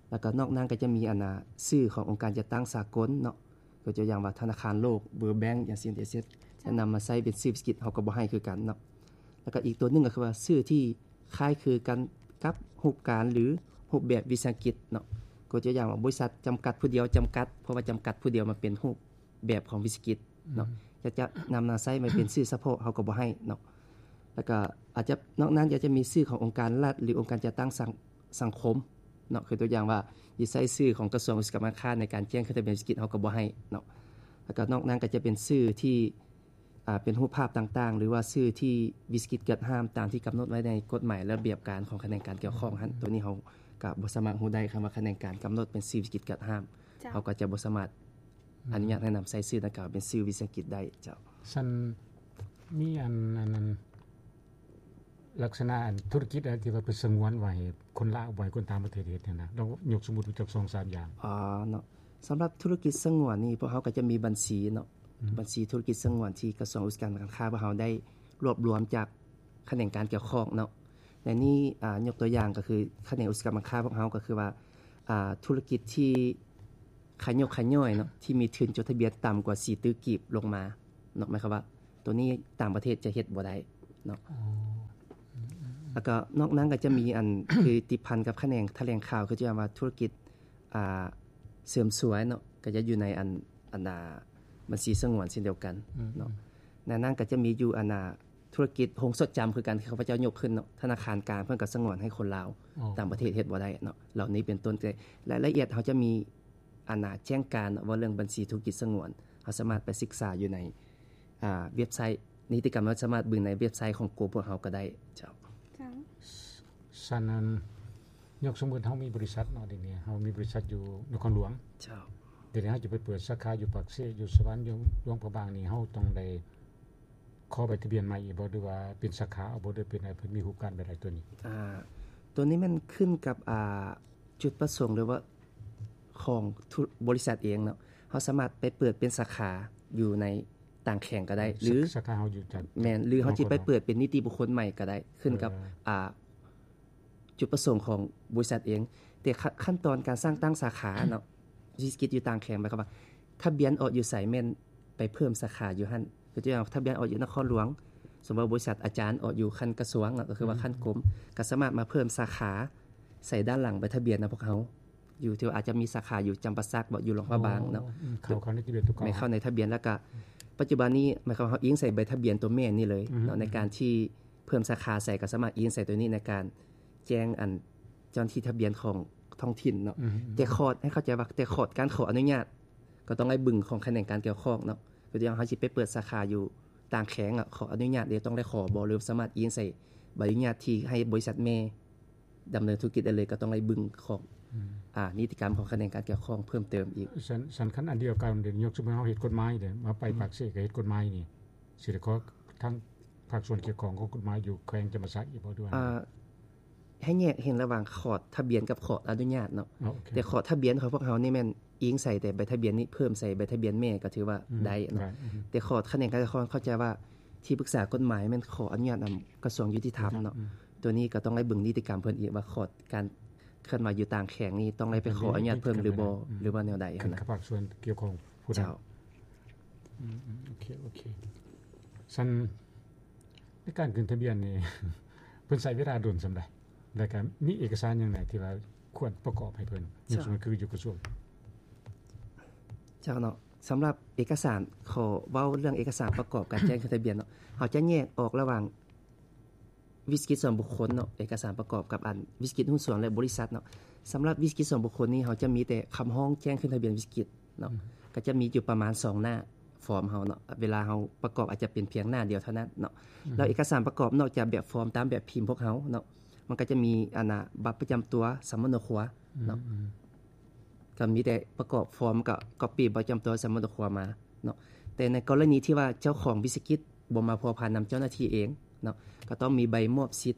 ແລ້ວກໍນອກນັ້ນກໍຈະມີ ອັນນ່າ ຊື່ຂອງອົງການຈັດຕັ້ງສາກົນເນາະ ຕົວຢ່າງວ່າທະນາຄານໂລກ World Bank ຈັ່ງຊີ້ ຈະນຳມາໃຊ້ເປັນຊື່ວິສາຫະກິດ ເຮົາກໍບໍ່ໃຫ້ຄືກັນເນາະ. ແລ້ວກໍອີກຕົວໜຶ່ງກໍຄືວ່າຊື່ທີ່ຄ້າຍຄືກັນກັບຮູບການ ຫຼື ຮູບແບບວິສາຫະກິດເນາະ ຕົວຢ່າງວ່າ ບໍລິສັດຈຳກັດຜູ້ດຽວຈຳກັດ ເພາະວ່າຈຳກັດຜູ້ດຽວມັນເປັນຮູບ ແບບຂອງວິສາຫະກິດເນາະ ຈະ ຈະນຳມາໃຊ້ມາເປັນຊື່ສະເພາະ ເຮົາກໍບໍ່ໃຫ້ເນາະ. ແລ້ວກໍອາດຈະ ນອກນັ້ນກໍຈະມີຊື່ຂອງອົງການລັດ ຫຼື ອົງການຈັດຕັ້ງສັງ ສັງຄົມເນາະ ຄືຕົວຢ່າງວ່າ ຊິໃຊ້ຊື່ຂອງກະຊວງອຸດສາຫະກຳການຄ້າໃນການແຈ້ງຂຶ້ນທະບຽນວິສາຫະກິດ ເຮົາກໍບໍ່ໃຫ້ເນາະ. ແລ້ວກໍນອກນັ້ນກໍຈະເປັນຊື່ທີ່ ອ່າ ເປັນຮູບພາບຕ່າງໆ ຫຼືວ່າຊື່ທີ່ວິສາຫະກິດເກີນຫ້າມຕາມທີ່ກຳນົດໄວ້ໃນກົດໝາຍ ລະບຽບການຂອງຂະແໜງການກ່ຽວຂ້ອງຫັ້ນ ໂຕນີ້ເຮົາ ກໍບໍ່ສາມາດຮູ້ໄດ້ ຄຳວ່າຂະແໜງການກຳນົດເປັນຊື່ວິສາຫະກິດການຫ້າມ ເຈົ້າ ເຮົາກໍຈະບໍ່ສາມາດ ອືມ ອະນຸຍາດໃຫ້ນຳໃຊ້ຊື່ດັ່ງກ່າວເປັນຊື່ວິສາຫະກິດໄດ້ເຈົ້າ. ຊັ້ນມີອັນ ອັນ ອັນ ລັກສະນະອັນທຸລະກິດອັນທີ່ວ່າເພິ່ນສະຫງວນໄວ້ໃຫ້ຄົນລາວ ບໍ່ໃຫ້ຄົນຕ່າງປະເທດເຮັດຫັ້ນນະ ລອງຍົກສົມມຸດຈັກສອງສາມຢ່າງ. ອໍ ເນາະ ສຳລັບທຸລະກິດສະຫງວນນີ້ ພວກເຮົາກໍຈະມີບັນຊີເນາະ ອືມ ບັນຊີທຸລະກິດສະຫງວນທີ່ກະຊວງອຸດສາຫະກຳການຄ້າພວກເຮົາໄດ້ລວບລວມຈາກຂະແໜງການກ່ຽວຂ້ອງເນາະ. ໃນນີ້ ອາ ຍົກຕົວຢ່າງກໍຄືຂະແໜງອຸດສາຫະກຳການຄ້າພວກເຮົາກໍຄືວ່າ ອາ ທຸລະກິດທີ່ຂະຫຍົກຂະຫຍ້ອຍເນາະ ທີ່ມີທຶນຈົດທະບຽນຕ່ຳກວ່າສີ່ຕື້ກີບລົງມາເນາະ ໝາຍຄວາມວ່າ ໂຕນີ້ຕ່າງປະເທດຈະເຮັດບໍ່ໄດ້ເນາະ. ອໍ ອືມໆໆ ແລ້ວກໍນອກນັ້ນກໍຈະມີອັນ ຄືຕິດພັນກັບຂະແໜງຖະແຫຼງຂ່າວ ຄືຈະວ່າທຸລະກິດ ອ່າ ເສີມສວຍເນາະ ກໍຈະຢູ່ໃນອັນ ອັນ ອ່າ ບັນຊີສະຫງວນເຊັ່ນດຽວກັນ ອືມໆ ເນາະ. ໃນນັ້ນກໍຈະມີຢູ່ອັນ ອ່າ ທຸລະກິດໂຮງຊົດຈຳຄືກັນ ທີ່ຂ້າພະເຈົ້າຍົກຂຶ້ນເນາະ ທະນາຄານກາງເພິ່ນກໍສະຫງວນໃຫ້ຄົນລາວ ອໍ ຕ່າງປະເທດເຮັດບໍ່ໄດ້ເນາະ ເຫຼົ່ານີ້ເປັນຕົ້ນ. ແຕ່ລາຍລະອຽດເຮົາຈະມີອັນ ອ່າ ແຈ້ງການເນາະ ເວົ້າເລື່ອງບັນຊີທຸລະກິດສະຫງວນ ເຮົາສາມາດໄປສຶກສາຢູ່ໃນ ອ່າ ເວັບໄຊ ນິຕິກຳ ເຮົາສາມາດເບິ່ງໃນເວັບໄຊຂອງກົມພວກເຮົາກໍໄດ້ເຈົ້າ. ເຈົ້າ ຊັ້ນນັ້ນ ຍົກສົມມຸດເຮົາມີບໍລິສັດເນາະ ດຽວນີ້ເຮົາມີບໍລິສັດຢູ່ນະຄອນຫຼວງ ເຈົ້າ ດຽວນີ້ເຮົາຈະໄປເປີດສາຂາຢູ່ປາກເຊ ຢູ່ສະຫວັນ ຢູ່ຫຼວງພະບາງນີ້ ເຮົາຕ້ອງໄດ້ຂໍໃບທະບຽນໃໝ່ອີກບໍ່ ຫຼືວ່າເປັນສາຂາເອົາບໍ່ ຫຼືເປັນໃດ ເພິ່ນມີຮູບການແບບໃດໂຕນີ້? ອ່າ ໂຕນີ້ແມ່ນຂຶ້ນກັບ ອ່າ ຈຸດປະສົງ ຫຼືວ່າຂອງທຸ ບໍລິສັດເອງເນາະ ເຮົາສາມາດໄປເປີດເປັນສາຂາຢູ່ໃນຕ່າງແຂວງກໍໄດ້ ອືມ ຫຼື ສາ ສາຂາເຮົາຢູ່ຈາກ ແມ່ນ ຫຼືເຮົາຊິໄປເປີດເປັນນິຕິບຸກຄົນໃໝ່ກໍໄດ້ ຂຶ້ນກັບ ເອີ ອ່າ ຈຸດປະສົງຂອງບໍລິສັດເອງ. ແຕ່ ຂະ ຂັ້ນຕອນການສ້າງຕັ້ງສາຂາເນາະ ວິສາຫະກິດຢູ່ຕ່າງແຂວງ ໝາຍຄວາມວ່າທະບຽນອອກຢູ່ໃສ ແມ່ນໄປເພີ່ມສາຂາຢູ່ຫັ້ນ ຄືຕົວຢ່າງທະບຽນອອກຢູ່ນະຄອນຫຼວງ ສົມມຸດວ່າບໍລິສັດອາຈານອອກຢູ່ຂັ້ນກະຊວງເນາະ ກໍຄືວ່າ ອືມ ຂັ້ນກົມ ກໍສາມາດມາເພີ່ມສາຂາໃສ່ດ້ານຫຼັງໃບທະບຽນນຳພວກເຮົາ ຢູ່ທີ່ວ່າອາດຈະມີສາຂາຢູ່ຈຳປາສັກບໍ ຢູ່ຫຼວງພະບາງເນາະ ອໍ ອືມ ເຂົ້າ ເຂົ້າໃນທະບຽນຕົວເກົ່າ ແມ່ນເຂົ້າໃນທະບຽນ ແລ້ວກະ ອືມ ປັດຈຸບັນນີ້ ໝາຍຄວາມເຮົາອີງໃສ່ໃບທະບຽນຕົວແມ່ນນີ້ເລີຍ ອືມ ເນາະ ໃນການທີ່ເພີ່ມສາຂາໃສ່ ກໍສາມາດອີງໃສ່ຕົວນີ້ໃນການແຈ້ງອັນເຈົ້າໜ້າທີ່ທະບຽນຂອງທ້ອງຖິ່ນເນາະ ອືມ ແຕ່ຂອດ ໃຫ້ເຂົ້າໃຈວ່າ ແຕ່ຂອດການຂໍອະນຸຍາດ ກໍຕ້ອງໄດ້ເບິ່ງຂອງຂະແໜງການກ່ຽວຂ້ອງເນາະ ຄືຢ່າງເຮົາຊິໄປເປີດສາຂາຢູ່ຕ່າງແຂວງ ອະ ຂໍອະນຸຍາດເດ ຕ້ອງໄດ້ຂໍບໍ່ ຫຼືສາມາດອີງໃສ່ໃບອະນຸຍາດທີ່ໃຫ້ບໍລິສັດແມ່ ດຳເນີນທຸລະກິດໄດ້ເລີຍ ກໍຕ້ອງໄດ້ເບິ່ງຂອງ ອືມ ອ່າ ນິຕິກຳຂອງຂະແໜງການກ່ຽວຂ້ອງເພີ່ມເຕີມອີກ. ຊັ້ນ ຊັ້ນຄັນອັນດຽວກັນເດ ຍົກສົມມຸດເຮົາເຮັດກົດໝາຍເດ ມາໄປ ອືມ ປາກເຊກໍເຮັດກົດໝາຍນີ້ ຊິໄດ້ຂໍທາງພາກສ່ວນກ່ຽວຂ້ອງຂອງກົດໝາຍຢູ່ແຂວງຈຳປາສັກອີກບໍ່ ຫຼືວ່າ ອ່າ ໃຫ້ແຍກເຫັນລະຫວ່າງຂອດທະບຽນກັບຂອດອະນຸຍາດເນາະ. ອໍ ໂອເຄ ແຕ່ຂອດທະບຽນຂອງພວກເຮົານີ້ແມ່ນອີງໃສ່ແຕ່ໃບທະບຽນນີ້ ເພີ່ມໃສ່ໃບທະບຽນແມ່ກໍຖືວ່າ ອືມ ໄດ້ເນາະ ໄດ້ ອືມ ແຕ່ຂອດຂະແໜງການປກຄອງເຂົ້າໃຈວ່າ ທີ່ປຶກສາກົດໝາຍແມ່ນຂໍອະນຸຍາດນຳກະຊວງຍຸຕິທຳເນາະ ອືມ ໂຕນີ້ກໍຕ້ອງໄດ້ເບິ່ງນິຕິກຳເພິ່ນອີກວ່າ ຂອດການເຄື່ອນໄຫວຢູ່ຕ່າງແຂວງນີ້ຕ້ອງໄດ້ໄປຂໍອະນຸຍາດເພີ່ມຫຼືບໍ່ ອືມ ຫຼືວ່າແນວໃດຫັ້ນນະ ຂຶ້ນກັບພາກສ່ວນກ່ຽວຂ້ອງຜູ້ນັ້ນ. ເຈົ້າ ອືມໆ ໂອເຄ ໂອເຄ ຊັ້ນ ໃນການຂຶ້ນທະບຽນນີ້ ເພິ່ນໃຊ້ເວລາດົນສ່ຳໃດ ແລ້ວກໍມີເອກະສານຫຍັງແດ່ທີ່ວ່າຄວນປະກອບໃຫ້ເພິ່ນ ເຈົ້າ ຢູ່ກະຊວງ? ເຈົ້າເນາະ ສຳລັບເອກະສານ ຂໍເວົ້າເລື່ອງເອກະສານປະກອບການແຈ້ງຂຶ້ນທະບຽນເນາະ ເຮົາຈະແຍກອອກລະຫວ່າງ ວິສາຫະກິດສ່ວນບຸກຄົນເນາະ ເອກະສານປະກອບກັບອັນວິສາຫະກິດຫຸ້ນສ່ວນ ແລະ ບໍລິສັດເນາະ. ສຳລັບວິສາຫະກິດສ່ວນບຸກຄົນນີ້ ເຮົາຈະມີແຕ່ຄຳຮ້ອງແຈ້ງຂຶ້ນທະບຽນວິສາຫະກິດເນາະ ອືມ ກໍຈະມີຢູ່ປະມານສອງໜ້າຟອມເຮົາເນາະ ເວລາເຮົາປະກອບອາດຈະເປັນພຽງໜ້າດຽວເທົ່ານັ້ນເນາະ ອືມ ແລ້ວເອກະສານປະກອບນອກຈາກແບບຟອມຕາມແບບພິມພວກເຮົາເນາະ ມັນກໍຈະມີອັນນ່າ ບັດປະຈຳຕົວ ສຳມະໂນຄົວເນາະ ອືມ ກໍມີແຕ່ປະກອບຟອມ ກໍກັອບປີ້ບັດປະຈຳຕົວ ສຳມະໂນຄົວມາເນາະ. ແຕ່ໃນກໍລະນີທີ່ວ່າເຈົ້າຂອງວິສາຫະກິດ ບໍ່ມາພົວພັນນຳເຈົ້າໜ້າທີ່ເອງເນາະ ກໍຕ້ອງມີໃບມອບສິດ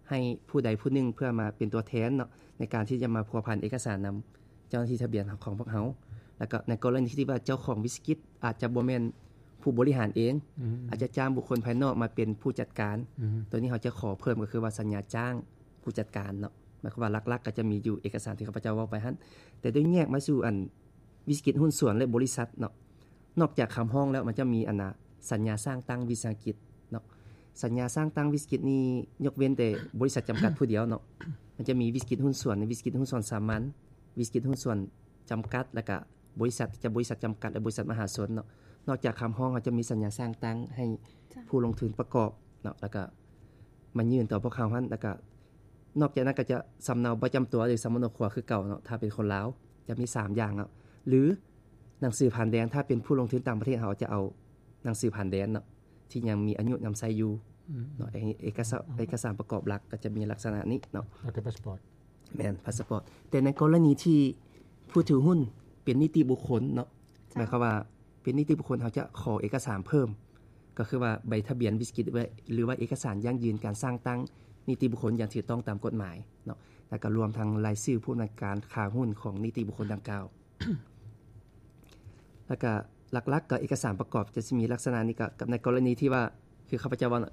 ໃຫ້ຜູ້ໃດຜູ້ໜຶ່ງ ເພື່ອມາເປັນຕົວແທນເນາະ ໃນການທີ່ຈະມາພົວພັນເອກະສານນຳເຈົ້າໜ້າທີ່ທະບຽນຂອງພວກເຮົາ. ແລ້ວກໍໃນກໍລະນີທີ່ວ່າເຈົ້າຂອງວິສາຫະກິດອາດຈະບໍ່ແມ່ນຜູ້ບໍລິຫານເອງ ອືມ ອາດຈະຈ້າງບຸກຄົນພາຍນອກມາເປັນຜູ້ຈັດການ ອືມ ໂຕນີ້ເຮົາຈະຂໍເພີ່ມກໍຄືວ່າສັນຍາຈ້າງຜູ້ຈັດການເນາະ ໝາຍຄວາມວ່າຫຼັກໆກໍຈະມີຢູ່ເອກະສານທີ່ຂ້າພະເຈົ້າເວົ້າໄປຫັ້ນ. ແຕ່ໂດຍແຍກມາສູ່ອັນ ວິສາຫະກິດຫຸ້ນສ່ວນ ແລະ ບໍລິສັດເນາະ ນອກຈາກຄຳຮ້ອງແລ້ວ ມັນຈະມີອັນນ່າ ສັນຍາສ້າງຕັ້ງວິສາຫະກິດເນາະ. ສັນຍາສ້າງຕັ້ງວິສາຫະກິດນີ້ ຍົກເວັ້ນແຕ່ບໍລິສັດຈຳກັດຜູ້ດຽວເນາະ ມັນຈະມີວິສາຫະກິດຫຸ້ນສ່ວນ ວິສາຫະກິດຫຸ້ນສ່ວນສາມັນ ວິສາຫະກິດຫຸ້ນສ່ວນຈຳກັດ ແລ້ວກະບໍລິສັດທີ່ຈະບໍລິສັດຈຳກັດ ແລະ ບໍລິສັດມະຫາຊົນເນາະ. ນອກຈາກຄຳຮ້ອງ ເຮົາຈະມີສັນຍາສ້າງຕັ້ງໃຫ້ ເຈົ້າ ຜູ້ລົງທຶນປະກອບເນາະ ແລ້ວກະມາຍື່ນຕໍ່ພວກເຮົາຫັ້ນ ແລ້ວກະ ນອກຈາກນັ້ນກໍຈະສຳເນົາປະຈຳຕົວ ຫຼື ສຳມະໂນຄົວຄືເກົ່າເນາະ ຖ້າເປັນຄົນລາວ ຈະມີສາມຢ່າງເນາະ ຫຼື ໜັງສືຜ່ານແດນ ຖ້າເປັນຜູ້ລົງທຶນຕ່າງປະເທດ ເຮົາຈະເອົາໜັງສືຜ່ານແດນເນາະ ທີ່ຍັງມີອາຍຸນຳໃຊ້ຢູ່ ອືມ ເນາະ. ເອກະສານ ເອກະສານປະກອບຫຼັກກໍຈະມີລັກສະນະນີ້ເນາະ ແລ້ວກໍພາສປອດ. ແມ່ນ ພາສປອດ. ແຕ່ໃນກໍລະນີທີ່ຜູ້ຖືຫຸ້ນເປັນນິຕິບຸກຄົນເນາະ ເຈົ້າ ໝາຍຄວາມວ່າເປັນນິຕິບຸກຄົນ ເຮົາຈະຂໍເອກະສານເພີ່ມ ກໍຄືວ່າໃບທະບຽນວິສາຫະກິດ ຫຼືວ່າເອກະສານຢັ້ງຢືນການສ້າງຕັ້ງນິຕິບຸກຄົນຢ່າງຖືກຕ້ອງຕາມກົດໝາຍເນາະ ແລ້ວກໍລວມທັງລາຍຊື່ຜູ້ອຳນວຍການຄ້າຫຸ້ນຂອງນິຕິບຸກຄົນດັ່ງກ່າວ. ແລ້ວກໍຫຼັກໆກໍເອກະສານປະກອບຈະຊິມີລັກສະນະນີ້ ກໍກັບໃນກໍລະນີທີ່ວ່າ ຄືຂ້າພະເຈົ້າເວົ້າ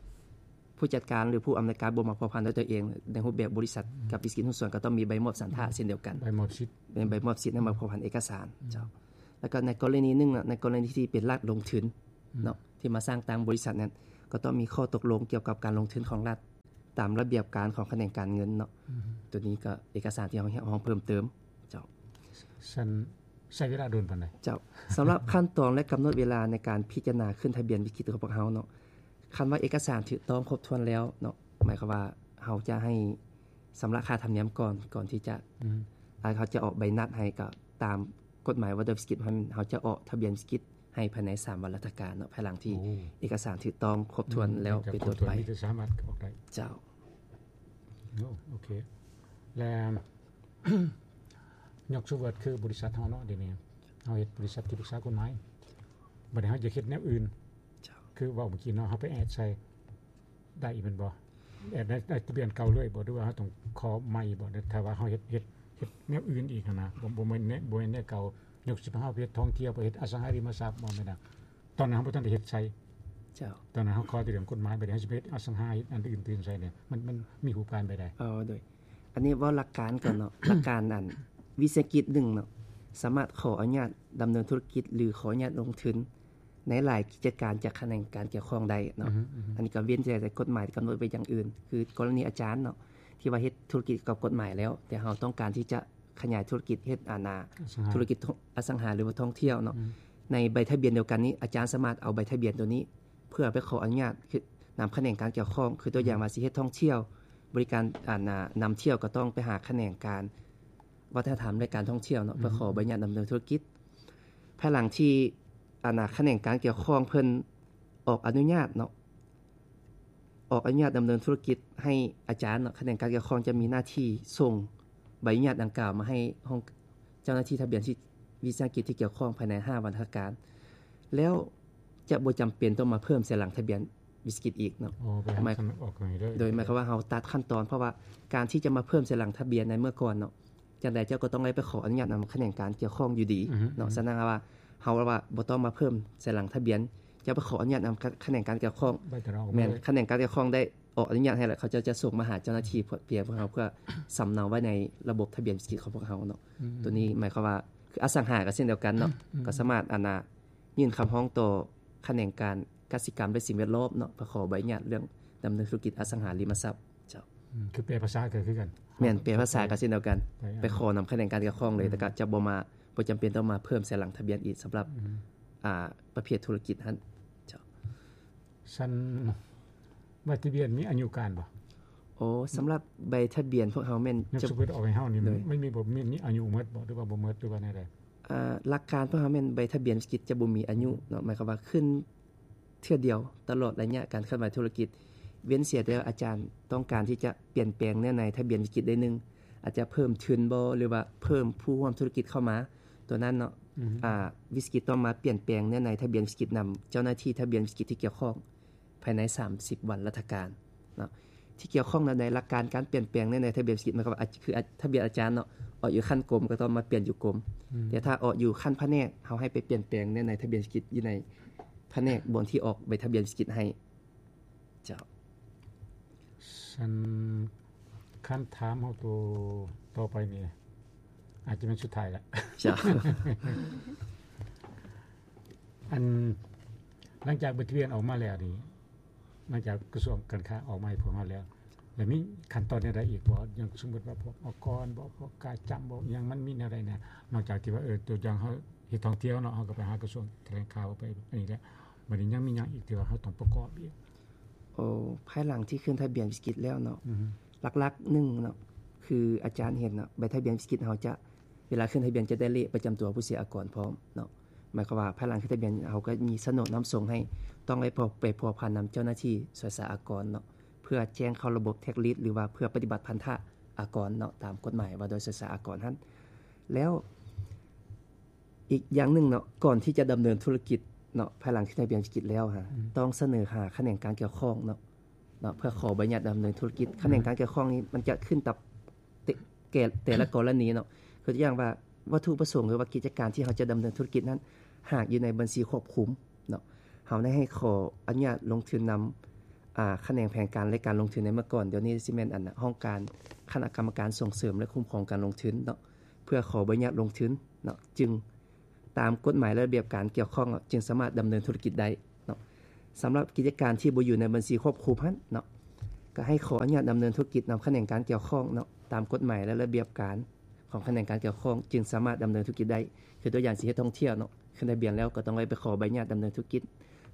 ຜູ້ຈັດການ ຫຼື ຜູ້ອຳນວຍການບໍ່ມາພົວພັນດ້ວຍຕົວເອງ ໃນຮູບແບບບໍລິສັດ ອືມ ກັບວິສາຫະກິດຫຸ້ນສ່ວນ ກໍຕ້ອງມີໃບມອບສັນທະເຊັ່ນດຽວກັນ ໃບມອບສິດ ເປັນໃບມອບສິດໃຫ້ມາພົວພັນເອກະສານ ອືມ ເຈົ້າ. ແລ້ວກໍໃນກໍລະນີໜຶ່ງເນາະ ໃນກໍລະນີທີ່ເປັນລັດລົງທຶນ ອືມ ເນາະ ທີ່ມາສ້າງຕັ້ງບໍລິສັດນັ້ນ ກໍຕ້ອງມີຂໍ້ຕົກລົງກ່ຽວກັບການລົງທຶນຂອງລັດ ຕາມລະບຽບການຂອງຂະແໜງການເງິນເນາະ ອືມ ໂຕນີ້ກໍເອກະສານທີ່ເຮົາຮຽກຮ້ອງເພີ່ມເຕີມ ເຈົ້າ. ຊັ້ນໃຊ້ເວລາດົນປານໃດ? ເຈົ້າ ສຳລັບຂັ້ນຕອນ ແລະ ກຳນົດເວລາໃນການພິຈາລະນາຂຶ້ນທະບຽນວິສາຫະກິດຂອງພວກເຮົາເນາະ ຄັນວ່າເອກະສານຖືກຕ້ອງຄົບຖ້ວນແລ້ວເນາະ ໝາຍຄວາມວ່າເຮົາຈະໃຫ້ຊຳລະຄ່າທຳນຽມກ່ອນ ກ່ອນທີ່ຈະ ອືມ ເຮົາຈະອອກໃບນັດໃຫ້ ກໍຕາມກົດໝາຍວ່າດ້ວຍວິສາຫະກິດ ເຮົາຈະອອກທະບຽນວິສາຫະກິດໃຫ້ພາຍໃນສາມວັນລັດຖະການເນາະ ພາຍຫຼັງທີ່ ໂອ້ ເອກະສານຖືກຕ້ອງຄົບຖ້ວນແລ້ວ ອືມ ເປັນຕົ້ນໄປ ມີແຕ່ສາມາດອອກໄດ້ ເຈົ້າ. ໂອ້ ໂອເຄ ແລ້ວ ຍົກສົມມຸດຄືບໍລິສັດເຮົາເນາະ ດຽວນີ້ເຮົາເຮັດບໍລິສັດທີ່ປຶກສາກົດໝາຍ ບັດນີ້ເຮົາຢາກເຮັດແນວອື່ນ ເຈົ້າ ຄືເວົ້າເມື່ອກີ້ເນາະ ເຮົາໄປແອດໃສ່ໄດ້ແມ່ນບໍ່? ແອດໃນ ໃນທະບຽນເກົ່າເລີຍບໍ່ ຫຼືວ່າເຮົາຕ້ອງຂໍໃໝ່ບໍ່? ຖ້າວ່າເຮົາເຮັດ ເຮັດ ເຮັດແນວອື່ນອີກຫັ້ນນະ ບໍ່ ບໍ່ແມ່ນແນວ ບໍ່ແມ່ນແນວເກົ່າ ຍົກເຊັ່ນເຮົາໄປເຮັດທ່ອງທ່ຽວ ໄປເຮັດອະສັງຫາລິມະຊັບບໍ່ແມ່ນນະ ຕອນນັ້ນເຮົາບໍ່ທັນໄດ້ເຮັດໃສ່ ເຈົ້າ ຕອນນັ້ນເຮົາຂໍແຕ່ເລື່ອງກົດໝາຍ ບັດນີ້ເຮົາຊິໄປເຮັດອະສັງຫາ ເຮັດອັນອື່ນຕື່ມໃສ່ນີ້ ມັນ ມັນມີຮູບການແບບໃດ? ເອີ ໂດຍ ອັນນີ້ເວົ້າຫຼັກການກ່ອນເນາະ ຫຼັກການອັນ ວິສາຫະກິດໜຶ່ງເນາະ ສາມາດຂໍອະນຸຍາດດຳເນີນທຸລະກິດ ຫຼື ຂໍອະນຸຍາດລົງທຶນໃນຫຼາຍກິດຈະການຈາກຂະແໜງການກ່ຽວຂ້ອງໄດ້ເນາະ ອືຮຶ ອືຮຶ ອັນນີ້ກໍເວັ້ນແຕ່ກົດໝາຍກຳນົດໄວ້ຢ່າງອື່ນ ຄືກໍລະນີອາຈານເນາະ ທີ່ວ່າເຮັດທຸລະກິດກ່ຽວກັບກົດໝາຍແລ້ວ ແຕ່ເຮົາຕ້ອງການທີ່ຈະຂະຫຍາຍທຸລະກິດ ເຮັດອັນນາ ອະສັງຫາ ທຸລະກິດອະສັງຫາ ຫຼືວ່າທ່ອງທ່ຽວເນາະ ອືມ ໃນໃບທະບຽນດຽວກັນນີ້ ອາຈານສາມາດເອົາໃບທະບຽນໂຕນີ້ ເພື່ອໄປຂໍອະນຸຍາດນຳຂະແໜງການກ່ຽວຂ້ອງ ຄືຕົວຢ່າງວ່າຊິເຮັດທ່ອງທ່ຽວ ບໍລິການ ອັນນາ ນຳທ່ຽວ ກໍຕ້ອງໄປຫາຂະແໜງການວັດທະນະທຳ ແລະ ການທ່ອງທ່ຽວເນາະ ເພື່ອຂໍໃບອະນຸຍາດດຳເນີນທຸລະກິດ. ພາຍຫຼັງທີ່ ອັນນາ ຂະແໜງການກ່ຽວຂ້ອງເພິ່ນອອກອະນຸຍາດເນາະ ອອກອະນຸຍາດດຳເນີນທຸລະກິດໃຫ້ອາຈານເນາະ ຂະແໜງການກ່ຽວຂ້ອງຈະມີໜ້າທີ່ສົ່ງໃບອະນຸຍາດດັ່ງກ່າວມາໃຫ້ຫ້ອງ ເຈົ້າໜ້າທີ່ທະບຽນວິສາຫະກິດທີ່ກ່ຽວຂ້ອງພາຍໃນຫ້າວັນທະການ ແລ້ວຈະບໍ່ຈຳເປັນຕ້ອງມາເພີ່ມໃສ່ຫຼັງທະບຽນວິສາຫະກິດອີກເນາະ. ໂດຍໝາຍຄວາມວ່າເຮົາຕັດຂັ້ນຕອນ ເພາະວ່າການທີ່ຈະມາເພີ່ມໃສ່ຫຼັງທະບຽນໃນເມື່ອກ່ອນເນາະ ຈັ່ງໃດເຈົ້າກໍຕ້ອງໄດ້ໄປຂໍອະນຸຍາດນຳຂະແໜງການກ່ຽວຂ້ອງຢູ່ດີເນາະ. ສະນັ້ນວ່າເຮົາວ່າບໍ່ຕ້ອງມາເພີ່ມໃສ່ຫຼັງທະບຽນ ເຈົ້າໄປຂໍອະນຸຍາດນຳຂະແໜງການກ່ຽວຂ້ອງ ແມ່ນຂະແໜງການກ່ຽວຂ້ອງໄດ້ ອອກອະນຸຍາດໃຫ້ແລ້ວ ເຂົາເຈົ້າຈະສົ່ງມາຫາເຈົ້າໜ້າທີ່ພຽງພວກເຮົາ ເພື່ອສຳເນົາໄວ້ໃນລະບົບທະບຽນວິສາຫະກິດຂອງພວກເຮົາເນາະ. ໂຕນີ້ໝາຍຄວາມວ່າ ຄືອະສັງຫາກໍເຊັ່ນດຽວກັນເນາະ ກໍສາມາດ ອັນນາ ຍື່ນຄຳຮ້ອງຕໍ່ຂະແໜງການກະສິກຳ ແລະ ສິ່ງແວດລ້ອມເນາະ ເພື່ອຂໍໃບອະນຸຍາດເລື່ອງດຳເນີນທຸລະກິດອະສັງຫາລິມະຊັບ. ເຈົ້າ ຄືແປພາສາກໍຄືກັນ. ແມ່ນ ແປພາສາກໍເຊັ່ນດຽວກັນ ໄປຂໍນຳຂະແໜງການກ່ຽວຂ້ອງເລີຍ ແລ້ວກໍຈະບໍ່ມາ ບໍ່ຈຳເປັນຕ້ອງມາເພີ່ມໃສ່ຫຼັງທະບຽນອີກ ສຳລັບ ອ່າ ປະເພດທຸລະກິດຫັ້ນ. ເຈົ້າ ຊັ້ນ ໃບທະບຽນມີອາຍຸການບໍ່? ໂອ ສຳລັບໃບທະບຽນພວກເຮົາແມ່ນ ສົມມຸດອອກໃຫ້ເຮົານີ້ ມັນມີບໍ່ ມີອາຍຸໝົດບໍ່ ຫຼືວ່າບໍ່ໝົດ ຫຼືວ່າແນວໃດ? ອ່າ ຫຼັກການພວກເຮົາແມ່ນໃບທະບຽນວິສາຫະກິດຈະບໍ່ມີອາຍຸເນາະ ໝາຍຄວາມວ່າຂຶ້ນເທື່ອດຽວຕະຫຼອດໄລຍະການເຄື່ອນໄຫວທຸລະກິດ ເວັ້ນເສຍແຕ່ວ່າອາຈານຕ້ອງການທີ່ຈະປ່ຽນແປງເນື້ອໃນທະບຽນວິສາຫະກິດໄດ້ໜຶ່ງ ອາດຈະເພີ່ມທຶນບໍ່ ຫຼືວ່າເພີ່ມຜູ້ຮ່ວມທຸລະກິດເຂົ້າມາ ຕົວນັ້ນເນາະ ອ່າ ວິສາຫະກິດຕ້ອງມາປ່ຽນແປງເນື້ອໃນທະບຽນວິສາຫະກິດນຳເຈົ້າໜ້າທີ່ທະບຽນວິສາຫະກິດທີ່ກ່ຽວຂ້ອງ ພາຍໃນສາມສິບວັນລັດຖະການເນາະ ທີ່ກ່ຽວຂ້ອງໃນຫຼັກການການປ່ຽນແປງໃນ ໃນທະບຽນວິສາຫະກິດ ໝາຍຄວາມວ່າ ຄືທະບຽນອາຈານເນາະ ອອກຢູ່ຂັ້ນກົມກໍຕ້ອງມາປ່ຽນຢູ່ກົມ ແຕ່ຖ້າອອກຢູ່ຂັ້ນພະແນກ ເຮົາໃຫ້ໄປປ່ຽນແປງໃນ ໃນທະບຽນວິສາຫະກິດຢູ່ໃນພະແນກບ່ອນທີ່ອອກໃບທະບຽນວິສາຫະກິດໃຫ້. ເຈົ້າ ຊັ້ນ ຄຳຖາມເຮົາໂຕຕໍ່ໄປນີ້ ອາດຈະແມ່ນສຸດທ້າຍລະ. ເຈົ້າ ອັນ ຫຼັງຈາກໃບທະບຽນອອກມາແລ້ວນີ້ ຫຼັງຈາກກະຊວງການຄ້າອອກມາໃຫ້ພວກເຮົາແລ້ວ ແລ້ວມີຂັ້ນຕອນແນວໃດອີກບໍ່? ຢ່າງສົມມຸດວ່າພວກອາກອນບໍ ພວກກາຈຳບໍ ອີ່ຫຍັງ ມັນມີແນວໃດແດ່? ນອກຈາກທີ່ວ່າ ເອີ ຕົວຢ່າງເຮົາເຮັດທ່ອງທ່ຽວເນາະ ເຮົາກໍໄປຫາກະຊວງຖະແຫຼງຂ່າວ ໄປອັນນີ້ແຫຼະ ບັດນີ້ຍັງມີຫຍັງອີກທີ່ວ່າເຮົາຕ້ອງປະກອບອີກ? ໂອ ພາຍຫຼັງທີ່ຂຶ້ນທະບຽນວິສາຫະກິດແລ້ວເນາະ ຫຼັກໆໜຶ່ງເນາະ ຄືອາຈານເຫັນເນາະ ໃບທະບຽນວິສາຫະກິດເຮົາຈະ ເວລາຂຶ້ນທະບຽນຈະໄດ້ເລກປະຈຳຕົວຜູ້ເສຍອາກອນພ້ອມເນາະ ໝາຍຄວາມວ່າພາຍຫຼັງຂຶ້ນທະບຽນເຮົາກໍມີສະໂໜດນຳສົ່ງໃຫ້ ຕ້ອງໄດ້ໄປພົວພັນນຳເຈົ້າໜ້າທີ່ສວຍສາອາກອນເນາະ ເພື່ອແຈ້ງເຂົ້າລະບົບ tax list ຫຼືວ່າເພື່ອປະຕິບັດພັນທະ ອາກອນເນາະ ຕາມກົດໝາຍວ່າດ້ວຍສວຍສາອາກອນຫັ້ນ. ແລ້ວອີກຢ່າງໜຶ່ງເນາະ ກ່ອນທີ່ຈະດຳເນີນທຸລະກິດເນາະ ພາຍຫຼັງທີ່ໄດ້ໃບອະນຸຍາດທຸລະກິດແລ້ວຫັ້ນ ອືມ ຕ້ອງສະເໜີຫາຂະແໜງການກ່ຽວຂ້ອງເນາະ ເນາະ ເພື່ອຂໍໃບອະນຸຍາດດຳເນີນທຸລະກິດ. ອືມ ຂະແໜງການກ່ຽວຂ້ອງນີ້ມັນຈະຂຶ້ນກັບແຕ່ ແກ່ ແຕ່ລະກໍລະນີເນາະ. ຄືຕົວຢ່າງວ່າ ວັດຖຸປະສົງ ຫຼືວ່າກິດຈະການທີ່ເຮົາຈະດຳເນີນທຸລະກິດນັ້ນ ຫາກຢູ່ໃນບັນຊີຄວບຄຸມເນາະ ເຮົາໄດ້ໃຫ້ຂໍອະນຸຍາດລົງທຶນນຳ ອາ ຂະແໜງແຜນການ ແລະ ການລົງທຶນໃນເມື່ອກ່ອນ, ດຽວນີ້ຊິແມ່ນອັນ ຫ້ອງການຄະນະກຳມະການສົ່ງເສີມ ແລະ ຄຸ້ມຄອງການລົງທຶນເນາະ ເພື່ອຂໍໃບອະນຸຍາດລົງທຶນເນາະ ຈຶ່ງ ຕາມກົດໝາຍ ແລະ ລະບຽບການກ່ຽວຂ້ອງເນາະ ຈຶ່ງສາມາດດຳເນີນທຸລະກິດໄດ້ເນາະ. ສຳລັບກິດຈະການທີ່ບໍ່ຢູ່ໃນບັນຊີຄວບຄຸມຫັ້ນເນາະ ກໍໃຫ້ຂໍອະນຸຍາດດຳເນີນທຸລະກິດນຳຂະແໜງການກ່ຽວຂ້ອງເນາະ ຕາມກົດໝາຍ ແລະ ລະບຽບການຂອງຂະແໜງການກ່ຽວຂ້ອງ ຈຶ່ງສາມາດດຳເນີນທຸລະກິດໄດ້. ຄືຕົວຢ່າງຊິເຮັດທ່ອງທ່ຽວເນາະ ຂຶ້ນທະບຽນແລ້ວກໍຕ້ອງໄດ້ໄປຂໍໃບອະນຸຍາດດຳເນີນທຸລະກິດ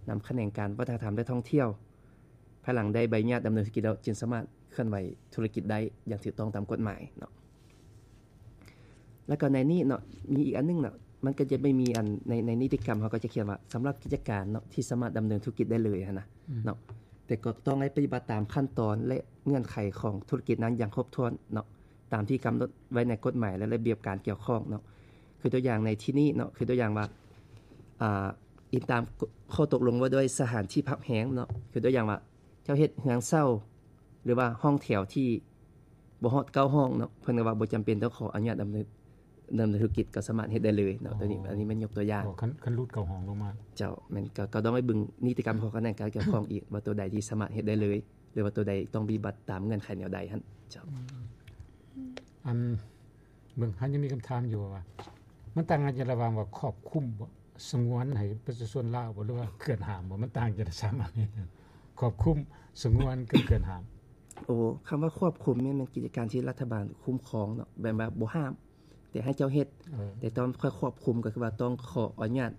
ນຳຂະແໜງການວັດທະນະທຳ ແລະ ທ່ອງທ່ຽວ. ພາຍຫຼັງໄດ້ໃບອະນຸຍາດດຳເນີນທຸລະກິດແລ້ວ ຈຶ່ງສາມາດເຄື່ອນໄຫວທຸລະກິດໄດ້ຢ່າງຖືກຕ້ອງຕາມກົດໝາຍເນາະ. ແລ້ວກໍໃນນີ້ເນາະ ມີອີກອັນໜຶ່ງເນາະ ມັນກໍຈະໄປມີອັນ ໃນ ໃນນິຕິກຳເຮົາກໍຈະຂຽນວ່າ ສຳລັບກິດຈະການເນາະ ທີ່ສາມາດດຳເນີນທຸລະກິດໄດ້ເລີຍຫັ້ນນະ ອືມ ເນາະ ແຕ່ກໍຕ້ອງໄດ້ປະຕິບັດຕາມຂັ້ນຕອນ ແລະ ເງື່ອນໄຂຂອງທຸລະກິດນັ້ນຢ່າງຄົບຖ້ວນເນາະ ຕາມທີ່ກຳນົດໄວ້ໃນກົດໝາຍ ແລະ ລະບຽບການກ່ຽວຂ້ອງເນາະ. ຄືຕົວຢ່າງໃນທີ່ນີ້ເນາະ ຄືຕົວຢ່າງວ່າ ອ່າ ອີງຕາມຂໍ້ຕົກລົງວ່າດ້ວຍສະຖານທີ່ພັກແຮມເນາະ ຄືຕົວຢ່າງວ່າ ເຈົ້າເຮັດເຮືອນເຊົ່າ ຫຼືວ່າຫ້ອງແຖວທີ່ບໍ່ຮອດເກົ້າຫ້ອງເນາະ ເພິ່ນກໍວ່າບໍ່ຈຳເປັນຕ້ອງຂໍອະນຸຍາດດຳເນີນ ດຳເນີນທຸລະກິດ ກໍສາມາດເຮັດໄດ້ເລີຍເນາະ. ອໍ ໂຕນີ້ ອັນນີ້ແມ່ນຍົກຕົວຢ່າງ. ອໍ ຄັນ ຄັນຫຼຸດເກົ້າຫ້ອງລົງມາ. ເຈົ້າ ແມ່ນ ກໍ ກໍຕ້ອງໄດ້ເບິ່ງນິຕິກຳຂອງຂະແໜງການກ່ຽວຂ້ອງອີກ ວ່າໂຕໃດທີ່ສາມາດເຮັດໄດ້ເລີຍ ຫຼືວ່າໂຕໃດຕ້ອງປະຕິບັດຕາມເງື່ອນໄຂແນວໃດຫັ້ນ. ເຈົ້າ ອືມ ອັນ ເບິ່ງ ເຮົາຍັງມີຄຳຖາມຢູ່ວ່າ ມັນຕ່າງກັນລະຫວ່າງວ່າຄວບຄຸມບໍ່ ສະຫງວນໃຫ້ປະຊາຊົນລາວບໍ່ ຫຼືວ່າເຂື່ອນຫ້າມບໍ່? ມັນຕ່າງກັນສາມອັນນີ້ ຄວບຄຸມ, ສະຫງວນ ກັບເຂື່ອນຫ້າມ. ໂອ້ ຄຳວ່າຄວບຄຸມນີ້ແມ່ນກິດຈະການທີ່ລັດຖະບານຄຸ້ມຄອງເນາະ ແບບວ່າບໍ່ຫ້າມ ແຕ່ໃຫ້ເຈົ້າເຮັດ ເອີ ແຕ່ຕ້ອງຄ່ອຍຄວບຄຸມ ກໍຄືວ່າຕ້ອງຂໍອະນຸຍາດ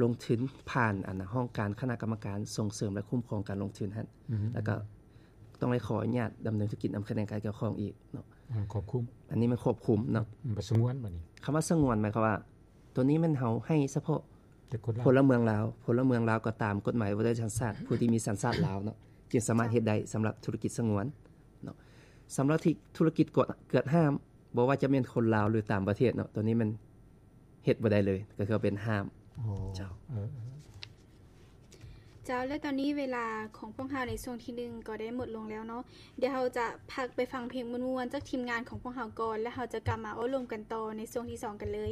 ລົງທຶນຜ່ານອັນ ຫ້ອງການຄະນະກຳມະການສົ່ງເສີມ ແລະ ຄຸ້ມຄອງການລົງທຶນຫັ້ນ ອືມ ແລ້ວກໍຕ້ອງໄດ້ຂໍອະນຸຍາດດຳເນີນທຸລະກິດນຳຂະແໜງການກ່ຽວຂ້ອງອີກເນາະ. ອືມ ຄວບຄຸມ ອັນນີ້ແມ່ນຄວບຄຸມເນາະ. ອືມ ສະຫງວນ ບາດນີ້ ຄຳວ່າສະຫງວນ ໝາຍຄວາມວ່າ ໂຕນີ້ແມ່ນເຮົາໃຫ້ສະເພາະ ແຕ່ຄົນລາວ ພົນລະເມືອງລາວ, ພົນລະເມືອງລາວກໍຕາມກົດໝາຍວ່າດ້ວຍສັນຊາດ ຜູ້ທີ່ມີສັນຊາດລາວເນາະ ຈຶ່ງສາມາດເຮັດໄດ້ສຳລັບທຸລະກິດສະຫງວນເນາະ. ສຳລັບທີ່ທຸລະກິດກວດ ກວດຫ້າມ ບໍ່ວ່າຈະແມ່ນຄົນລາວ ຫຼື ຕ່າງປະເທດເນາະ ໂຕນີ້ແມ່ນເຮັດບໍ່ໄດ້ເລີຍ ກໍຄືວ່າເປັນຫ້າມ. ອໍ ເຈົ້າ ເອີ ເຈົ້າ ແລະ ຕອນນີ້ເວລາຂອງພວກເຮົາໃນຊ່ວງທີໜຶ່ງກໍໄດ້ໝົດລົງແລ້ວເນາະ. ດຽວເຮົາຈະພັກໄປຟັງເພງມ່ວນໆຈາກທີມງານຂອງພວກເຮົາກ່ອນ ແລ້ວເຮົາຈະກັບມາເວົ້າລົມກັນຕໍ່ໃນຊ່ວງທີສອງກັນເລີຍ.